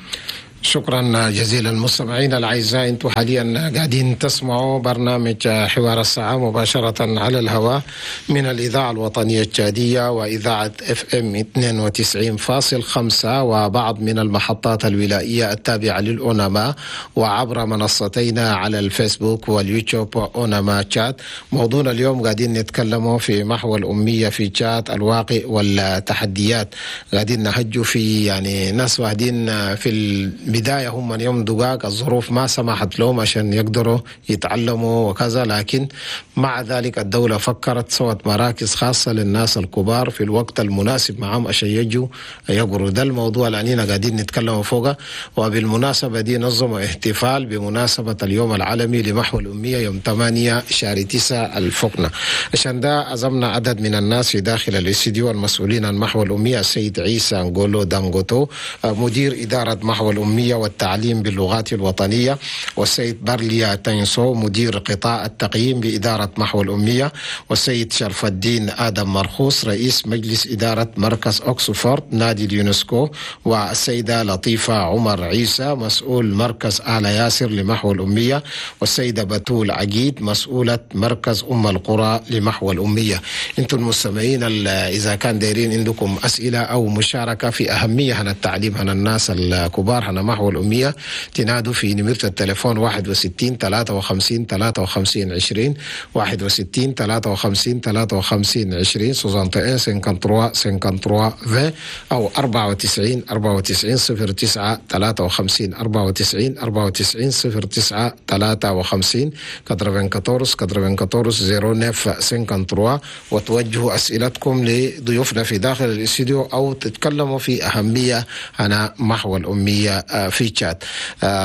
شكرا جزيلا مستمعينا الاعزاء، انتم حاليا قاعدين تسمعوا برنامج حوار الساعة مباشرة على الهواء من الاذاعة الوطنية التشاديه واذاعة اف ام اثنين وتسعين فاصل خمسة وبعض من المحطات الولائيه التابعة للاوناما، وعبر منصتينا على الفيسبوك واليوتيوب اوناما تشاد. موضوعنا اليوم قاعدين نتكلموا في محو الامية في تشاد، الواقع والتحديات. قاعدين نهجوا في يعني ناس واحدين في البداية هم من يوم دقاق الظروف ما سمحت لهم عشان يقدروا يتعلموا وكذا، لكن مع ذلك الدولة فكرت سوت مراكز خاصة للناس الكبار في الوقت المناسب معهم عشان يجوا يقروا. ده الموضوع اللي أننا قاعدين نتكلم فوقه. وبالمناسبة دي نظموا احتفال بمناسبة اليوم العالمي لمحو الأمية يوم ثمانية شهر تسعة الفقنة. عشان ده عزمنا عدد من الناس في داخل الاستديو المسؤولين عن محو الأمية، السيد عيسى نغولو دانغوتو مدير إدارة محو الأمية والتعليم باللغات الوطنية، والسيد برليا تينسو مدير قطاع التقييم بإدارة محو الأمية، والسيد شرف الدين آدم مرخوص رئيس مجلس إدارة مركز أكسفورد نادي اليونسكو، والسيدة لطيفة عمر عيسى مسؤول مركز آل ياسر لمحو الأمية، والسيدة بتول عقيد مسؤولة مركز أم القرى لمحو الأمية. انتم المستمعين إذا كان دايرين عندكم أسئلة أو مشاركة في أهمية عن التعليم عن الناس الكبار عن محو الأمية، تنادوا في نمرة التليفون واحد وستين ثلاثة وخمسين ثلاثة وخمسين عشرين، واحد وستين ثلاثة وخمسين ثلاثة وخمسين عشرين، soixante et un cinquante-trois cinquante-trois vingt، أو أربعة وتسعين أربعة وتسعين صفر تسعة ثلاثة وخمسين، أربعة وتسعين أربعة وتسعين صفر تسعة ثلاثة وخمسين، quatre-vingt-quatorze quatre-vingt-quatorze zéro neuf cinquante-trois. وتوجهوا أسئلتكم لضيوفنا في داخل الاستديو أو تتكلموا في أهمية عن محو الأمية في تشاد.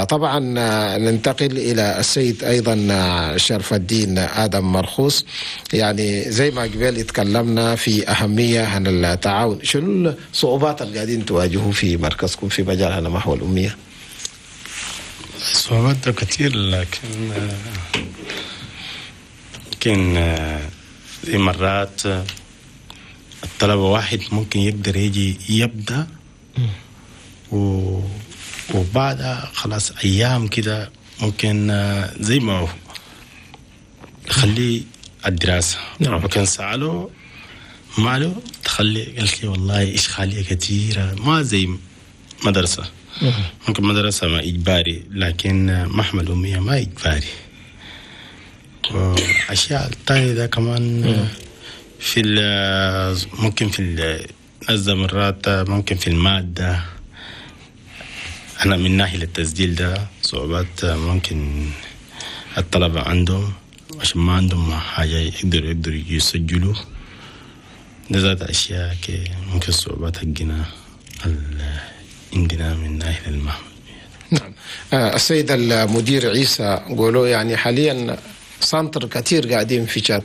طبعا ننتقل إلى السيد أيضا شرف الدين آدم مرخوص. يعني زي ما قبل اتكلمنا في أهمية عن التعاون، شنو الصعوبات اللي قاعدين تواجهوا في مركزكم في مجال عن محو الأمية؟ الصعوبات كثير، لكن يمكن زي مرات الطلبة واحد ممكن يقدر يجي يبدأ و وبعدها خلاص أيام كده ممكن زي ما هو خليه الدراسة. نعم. وكان سأله ماله تخلي، قالت لي والله إشغالية كثيرة ما زي مدرسة. ممكن مدرسة ما إجباري، لكن محمل أمية ما إجباري. وأشياء الثانية ده كمان في ممكن في مرات ممكن في المادة. أنا من ناحية التسجيل ده صعوبات ممكن الطلبة عندهم عشان ما عندهم حاجة يقدروا يقدروا يسجلوا. ده ذات أشياء ممكن صعوبات حقنا عندنا من ناحية المحمل. نعم. السيد المدير عيسى قولوا يعني حاليا centres كثير قاعدين في تشاد،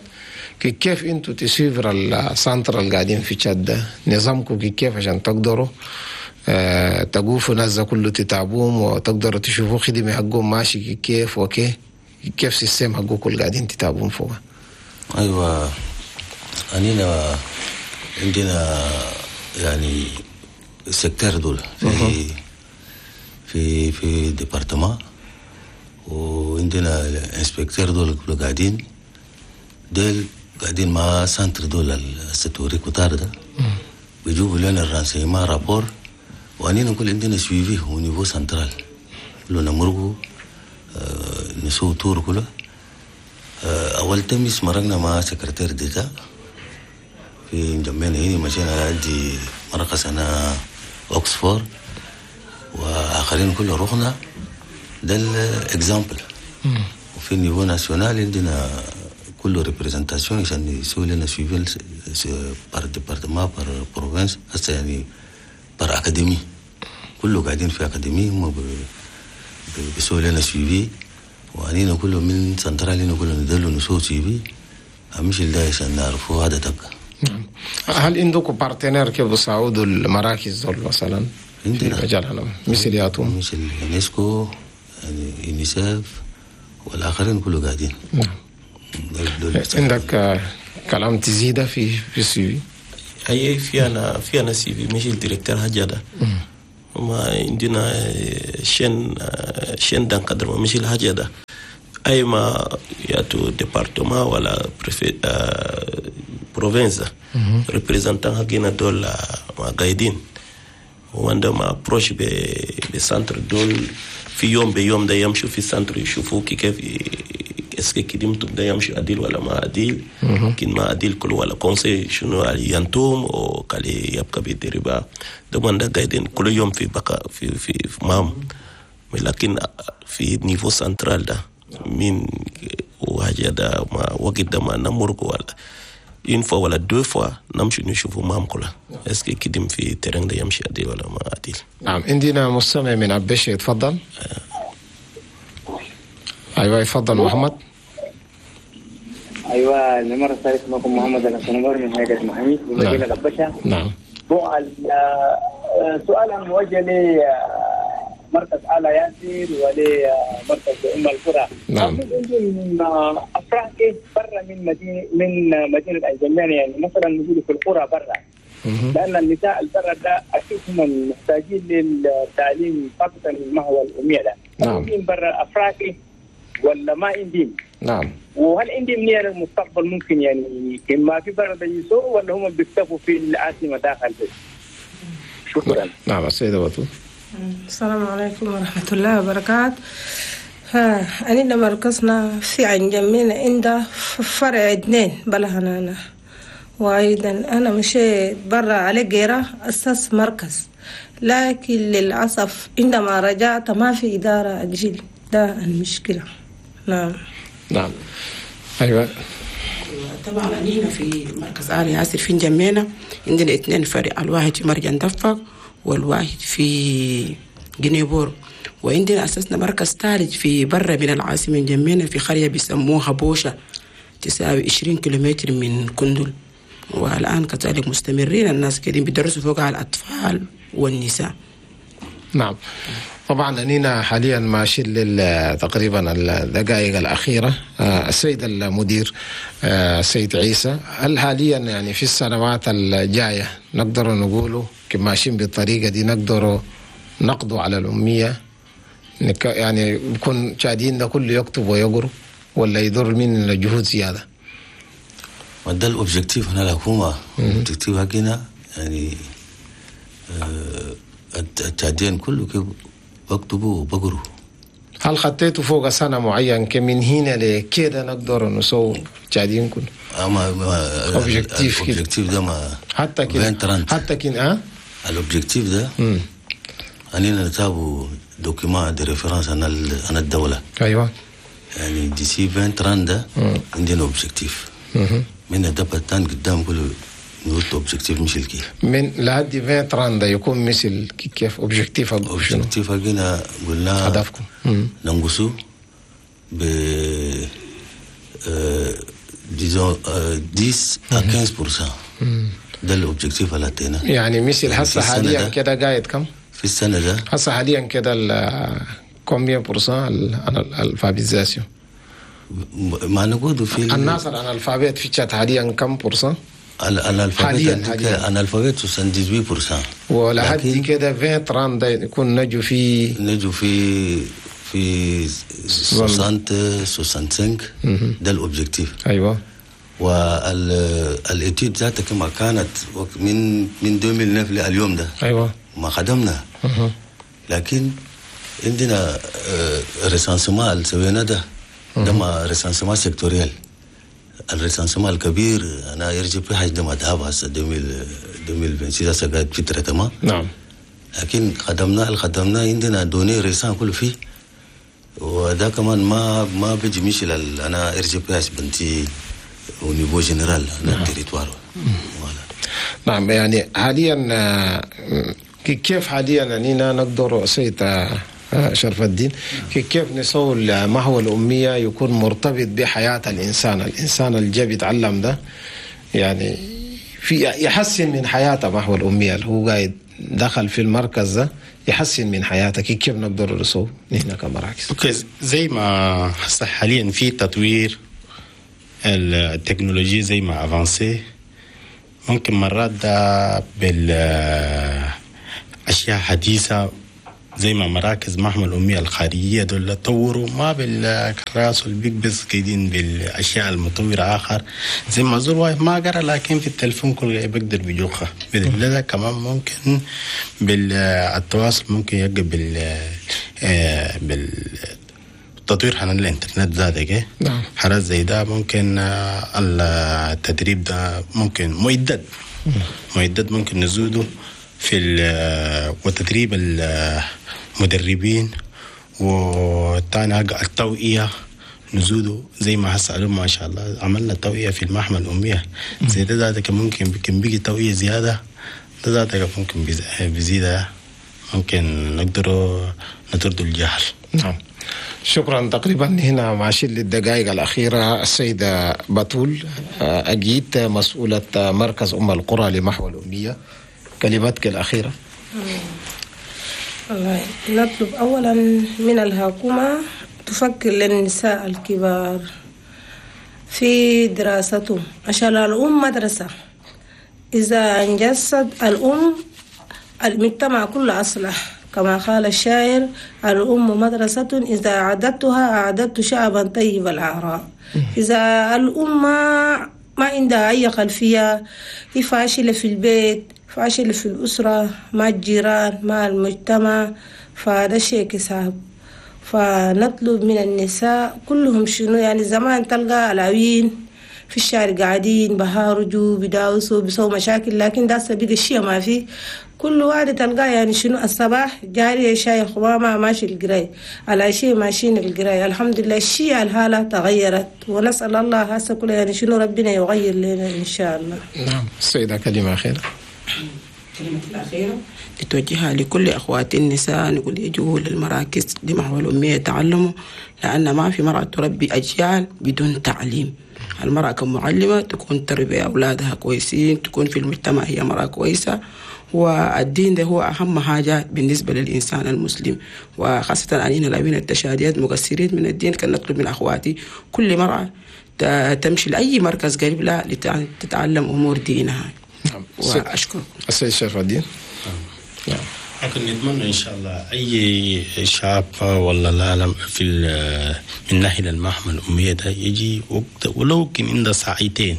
كيف انتوا ت suivre ال centres اللي قاعدين في تشاد ده؟ نظامكم كيف عشان تقدروا أه تقوفوا ناس كله تتعبوهم وتقدروا تشوفوا خدمة حقهم ماشي كيف وكيف كيف système حقكم كل قاعدين تتعبون فوق؟ ايوه، أنينا عندنا يعني secteur دول في في في département، وعندنا inspecteurs دول كله قاعدين ديل قاعدين مع centres دول الستوري كتار ده بيجيبوا لنا ال renseignements rapport، وأنينا نقول عندنا suivi au niveau central كله نمرقوا آه نسوي tour كله. آه، أول تمس مرقنا مع secrétaire d'État في انجمينا هنا، مشينا لعندي مركز هنا أكسفورد وآخرين كله رحنا. ده ال exemple. وفي niveau national عندنا كله représentation عشان يسوي لنا suivi par département، par province، هسه يعني par académie، كله قاعدين في académie، هم ب- ب- بيسوي لنا suivi، وأنينا كله من سنترال هنا كله ندلو نسوي suivi أمشي ده عشان نعرفوا هذا تبقى. نعم، هل عندكم partenaires كيف بيساعدوا المراكز دول مثلا في عندنا. مجال هنا مثل ياتون؟ مثل يونسكو، يعني يونيسف والآخرين كله قاعدين. نعم. دول- دول بيساعدوا. عندك آه، كلام تزيده في في ال suivi؟ أي في أنا في أنا suivi مش ال directeur حاجة ده، ما عندنا chaîne chaîne d'encadrement مش الحاجة ده، أي ما ياتو département ولا préfet province، représentant حقنا دول ما قايدين وعندما approche ب centre دول في يوم بيوم ده يمشوا في ال centre يشوفوا كيف est-ce que كديمتم ده يمشي عديل ولا ما عديل، كن ما عديل كل ولا conseil شنو ينتم او كالي يبقى بيدربا ده من ده قاعدين كل يوم في بقى في في, في مام، لكن في niveau central ده من وحاجة ده ما وقت ده ما نمرق ولا une fois ولا deux fois نمشي نشوفوا مام كلها est-ce que كديم في terrain ده يمشي عديل ولا ما عديل. نعم، عندنا مستمع من أبشي، يتفضل. ايوه، يتفضل محمد. ايوه، المرة الثالثة معكم محمد الاسنبر من هيئة المحاميد بمدينة أبشة. نعم. bon، السؤال موجه لمركز آل ياسر ولمركز ام القرى. نعم. عندهم افرع كيف برا من مدينة من مدينة انجمينا، يعني مثلا نقول في القرى برا، لان النساء البرا ده اكيد هم محتاجين للتعليم، خاصة ما هو الامية ده. نعم. عندهم برا افرع كيف ولا ما عندهم؟ نعم. وهل عندهم نية للمستقبل ممكن يعني ما في برا يسووا ولا هم بيكتفوا في العاصمة داخل بس؟ شكرا. نعم، السيدة بتول. السلام عليكم ورحمة الله وبركاته. ها أننا مركزنا في انجمينا عند فرع اثنين بلهنا، وأيضا أنا مشيت برا على جيرة أساس مركز، لكن للأسف عندما رجعت ما في إدارة أجيل، ده المشكلة. نعم. نعم، ايوه. طبعا هنا في مركز آل ياسر في انجمينا عندنا اثنين فرع، الواحد في مرجان دفق والواحد في جنيبور، وعندنا أسسنا مركز ثالث في برا من العاصمة انجمينا في قرية بيسموها بوشة، تساوي عشرين كيلومتر من كندل، والآن كذلك مستمرين، الناس كده بيدرسوا فوق على الأطفال والنساء. نعم، طبعا أنينا حاليا ماشيين لل تقريبا الدقائق الأخيرة. آه، السيد المدير، آه، السيد عيسى، هل حاليا يعني في السنوات الجاية نقدر نقوله ماشيين بالطريقة دي نقدر نقضوا على الأمية، يعني يكون تشاديين ده كله يكتب ويقرأ، ولا يدور من الجهود زيادة؟ وده ال objectif هنا الحكومة، ال objectif حقنا يعني آه، التشاديين كله كيف بكتبوا وبقروا. هل خطيتوا فوق سنة معين كمن هنا لكده نقدر نسوي تشاديين كله؟ اما objectif كده. ال objectif ده ما حتى كده ألفين وثلاثين. حتى كده اه ال objectif ده اننا نتابعوا document de référence عن عن الدولة. ايوه يعني d'ici ألفين وثلاثين ده عندنا objectif من ده بتان قدام كله نقول objectif مش الكي. من لحد ألفين وثلاثين ده يكون مثل كيف objectif شنو؟ objectif حقنا قلنا هدفكم. مم. ننقصوا ب disons عشرة à خمستاشر في المية، ده ال objectif اللي اتينا. يعني مثل يعني هسه في السنة حاليا ده- كده قاعد كم؟ في السنة ده هسه حاليا كده combien pour cent ال alphabétisation؟ ما نقول في ال- الناس ال analphabètes في تشاد حاليا كم pour cent؟ ال- ال analphabètes حالياً- حالياً. analphabètes ثمانية وسبعين في المية. ولحد لكن كده ألفين وثلاثين ده يكون نجوا في نجوا في في ستين خمسة وستين، ده ال objectif. ايوه وال étude ذاتها كما كانت وقت من من ألفين وتسعة لليوم ده ايوه ما خدمنا، لكن عندنا recensement اللي سوينا ده. ده ما recensement sectoriel. ال recensement الكبير انا R G P H ده ما ذهب هسه ألفين وستة وعشرين، هسه قاعد في traitement. نعم لكن خدمنا اللي خدمناه، عندنا données récentes كله فيه، وده كمان ما ما بيجي مشي لل- انا R G P H بنتي au niveau général انا ال territoire، voilà. نعم، يعني حاليا آه، كيف حاليا أننا نقدر، سيد آه، آه، شرف الدين، كيف نسوي محو الأمية يكون مرتبط بحياة الإنسان؟ الإنسان اللي جا بيتعلم ده يعني في يحسن من حياته، محو الأمية اللي هو قاعد دخل في المركز ده يحسن من حياته، كيف نقدر نسوي نحن كمراكز؟ okay، زي ما هسه حاليا في تطوير التكنولوجيا، زي ما avancé، ممكن مرات ده بالاشياء حديثه، زي ما مراكز محو الأمية الخارجية دول طوروا، ما بالكراس والبيك بس، قاعدين بالأشياء المطورة آخر، زي ما زول واحد ما قرأ لكن في التلفون كل بيقدر بيجوخها. ده كمان ممكن بالتواصل، ممكن يبقى بال آه، بال تطوير حنا الانترنت ذاتك. نعم. حالات زي ده ممكن آه، التدريب ده ممكن معدات معدات ممكن نزوده في ال- وتدريب المدربين، والثاني حاجة التوعية نزوده، زي ما هسه ما شاء الله عملنا توعية في المحو الأمية، زي ده ذاتك ممكن ممكن بيجي توعية زيادة، ده ذاتك ممكن بيز- بيزيد، ممكن نقدر نطرد الجهل. نعم، شكرا. تقريبا هنا ماشيين للدقائق الأخيرة. السيدة بتول آه، أجيت، مسؤولة مركز أم القرى لمحو الأمية، كلمتك الأخيرة. والله نطلب أولا من الحكومة تفكر للنساء الكبار في دراستهم، عشان الأم مدرسة، إذا أنجزت الأم المجتمع كله أصلح، كما قال الشاعر: الأم مدرسة إذا أعددتها أعددت شعبا طيب الأعراق. إذا الأم ما ما عندها أي خلفية، هي فاشلة في البيت، فاشلة في الأسرة، مع الجيران، مع المجتمع، فهذا شيء صعب. فنطلب من النساء كلهم شنو يعني، زمان تلقى العوين في الشارع قاعدين بهارجوا بداوسوا بيسووا مشاكل، لكن ده بقى الشيء ما في. كل واحد تلقاه يعني شنو، الصباح جاري شاي خمامة ماشي القراي، على شيء ماشيين القراي. الحمد لله الشيء الحالة تغيرت، ونسأل الله هسه كله يعني شنو ربنا يغير لنا إن شاء الله. نعم، السيدة كلمة أخيرة. كلمة الأخيرة لتوجهها لكل أخواتي النساء، نقول يجوا للمراكز لمحو الأمية يتعلموا، لأن ما في مرأة تربي أجيال بدون تعليم. المرأة كمعلمة تكون تربي أولادها كويسين، تكون في المجتمع هي مرأة كويسة، والدين ده هو أهم حاجة بالنسبة للإنسان المسلم، وخاصة أننا لاوين التشاديات مقصرين من الدين. كان نطلب من أخواتي كل مرأة تمشي لأي مركز قريب لها لتتعلم أمور دينها. نعم. وأشكركم. السيد شرف الدين. نعم، لكن نتمنى ان شاء الله اي شاب ولا العالم في من ناحيه المحو الاميه ده يجي وقت، ولو كان عنده ساعتين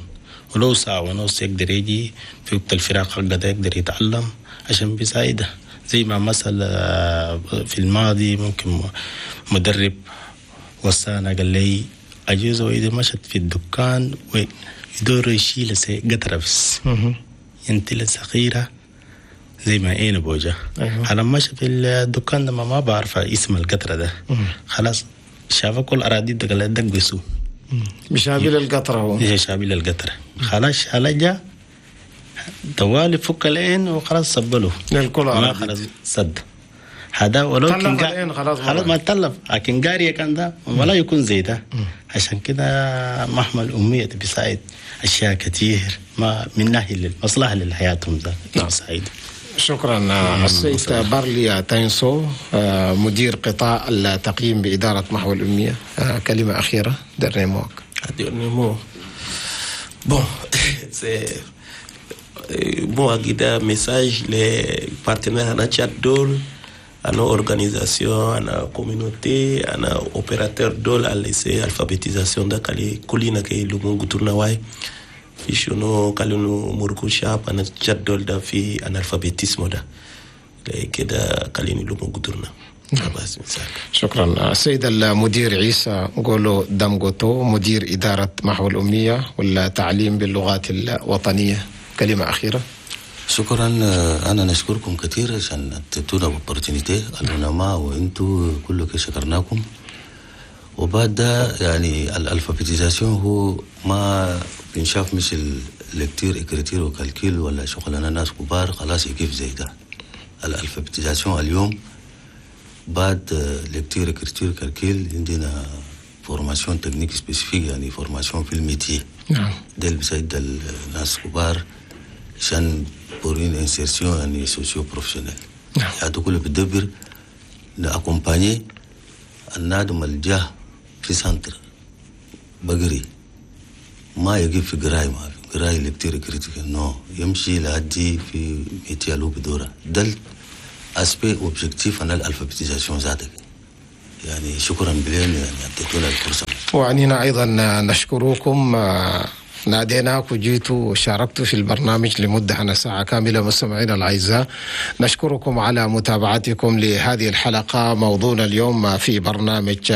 ولو ساعه ونص، يقدر يجي في وقت الفراغ حقه ده يقدر يتعلم عشان بيساعده. زي ما مثلا في الماضي ممكن مدرب وصانا، قال لي عجوزة وإذا مشت في الدكان ويدور يشيل قطرة بس ينتل صغيرة زي ما اين بوجه. أيوه. على مشى في الدكان ده ما, ما بعرف اسم القطرة ده، خلاص شاف كل أراضي ده قال دق بسو. مشابه القطرة هو. مشابه القطرة، خلاص شالجا طوالي فك العين وخلاص صبله للكل. ما خلاص صد هذا ولو كان العين خلاص. خلاص ما تلف، لكن قارية كان ده ولا يكون زي ده. عشان كده محو الأمية بيساعد أشياء كثير، ما من ناحية المصلحة لحياتهم ده. نعم. بيساعد. شكرا. السيد بارلي تاينسو، مدير قطاع التقييم بإدارة محو الأمية، كلمة أخيرة، dernier mot. Dernier mot. Bon, c'est bon أكيد message les partenaires هنا تشاد دول، هنا organisation، هنا communauté، هنا opérateur دول اللي alphabétisation ده، كالي كلنا كي لمو قدرنا واي في شنو كالي مركو شاب هنا تشاد دول ده في analphabétisme ده كده، كالي لمو قدرنا. بس مثال. شكرا. السيد المدير عيسى قولو دامغوتو، مدير إدارة محو الأمية والتعليم باللغات الوطنية، كلمة أخيرة. شكرا. آه، انا نشكركم كثير عشان اديتونا opportunité، العلماء وانتم كلكم شكرناكم. وبعد ده يعني ال alphabétisation هو ما بنشاف مش lecture، écriture و calcul ولا شغلنا ناس كبار خلاص يكيف زي ده. ال alphabétisation اليوم بعد lecture، écriture، calcul عندنا formation technique spécifique، يعني formation في ال métier. نعم ده اللي بيساعد الناس كبار عشان pour une insertion يعني socio-professionnelle. نعم. يعني كله بتدبر ن accompagner النادم الجاه في centre بقري، ما يجيب في قراي، ما في قراي lecture، écriture، non، يمشي لهدي في métier لو بدورة. ده aspect objectif انا ال alphabétisation ذاتك. يعني شكرا بلين، يعني اديتونا الفرصه. وعنينا أيضا نشكركم، آه، ناديناك وجيتوا وشاركتوا في البرنامج لمدة عن ساعة كاملة. مستمعينا الأعزاء، نشكركم على متابعتكم لهذه الحلقة. موضوعنا اليوم في برنامج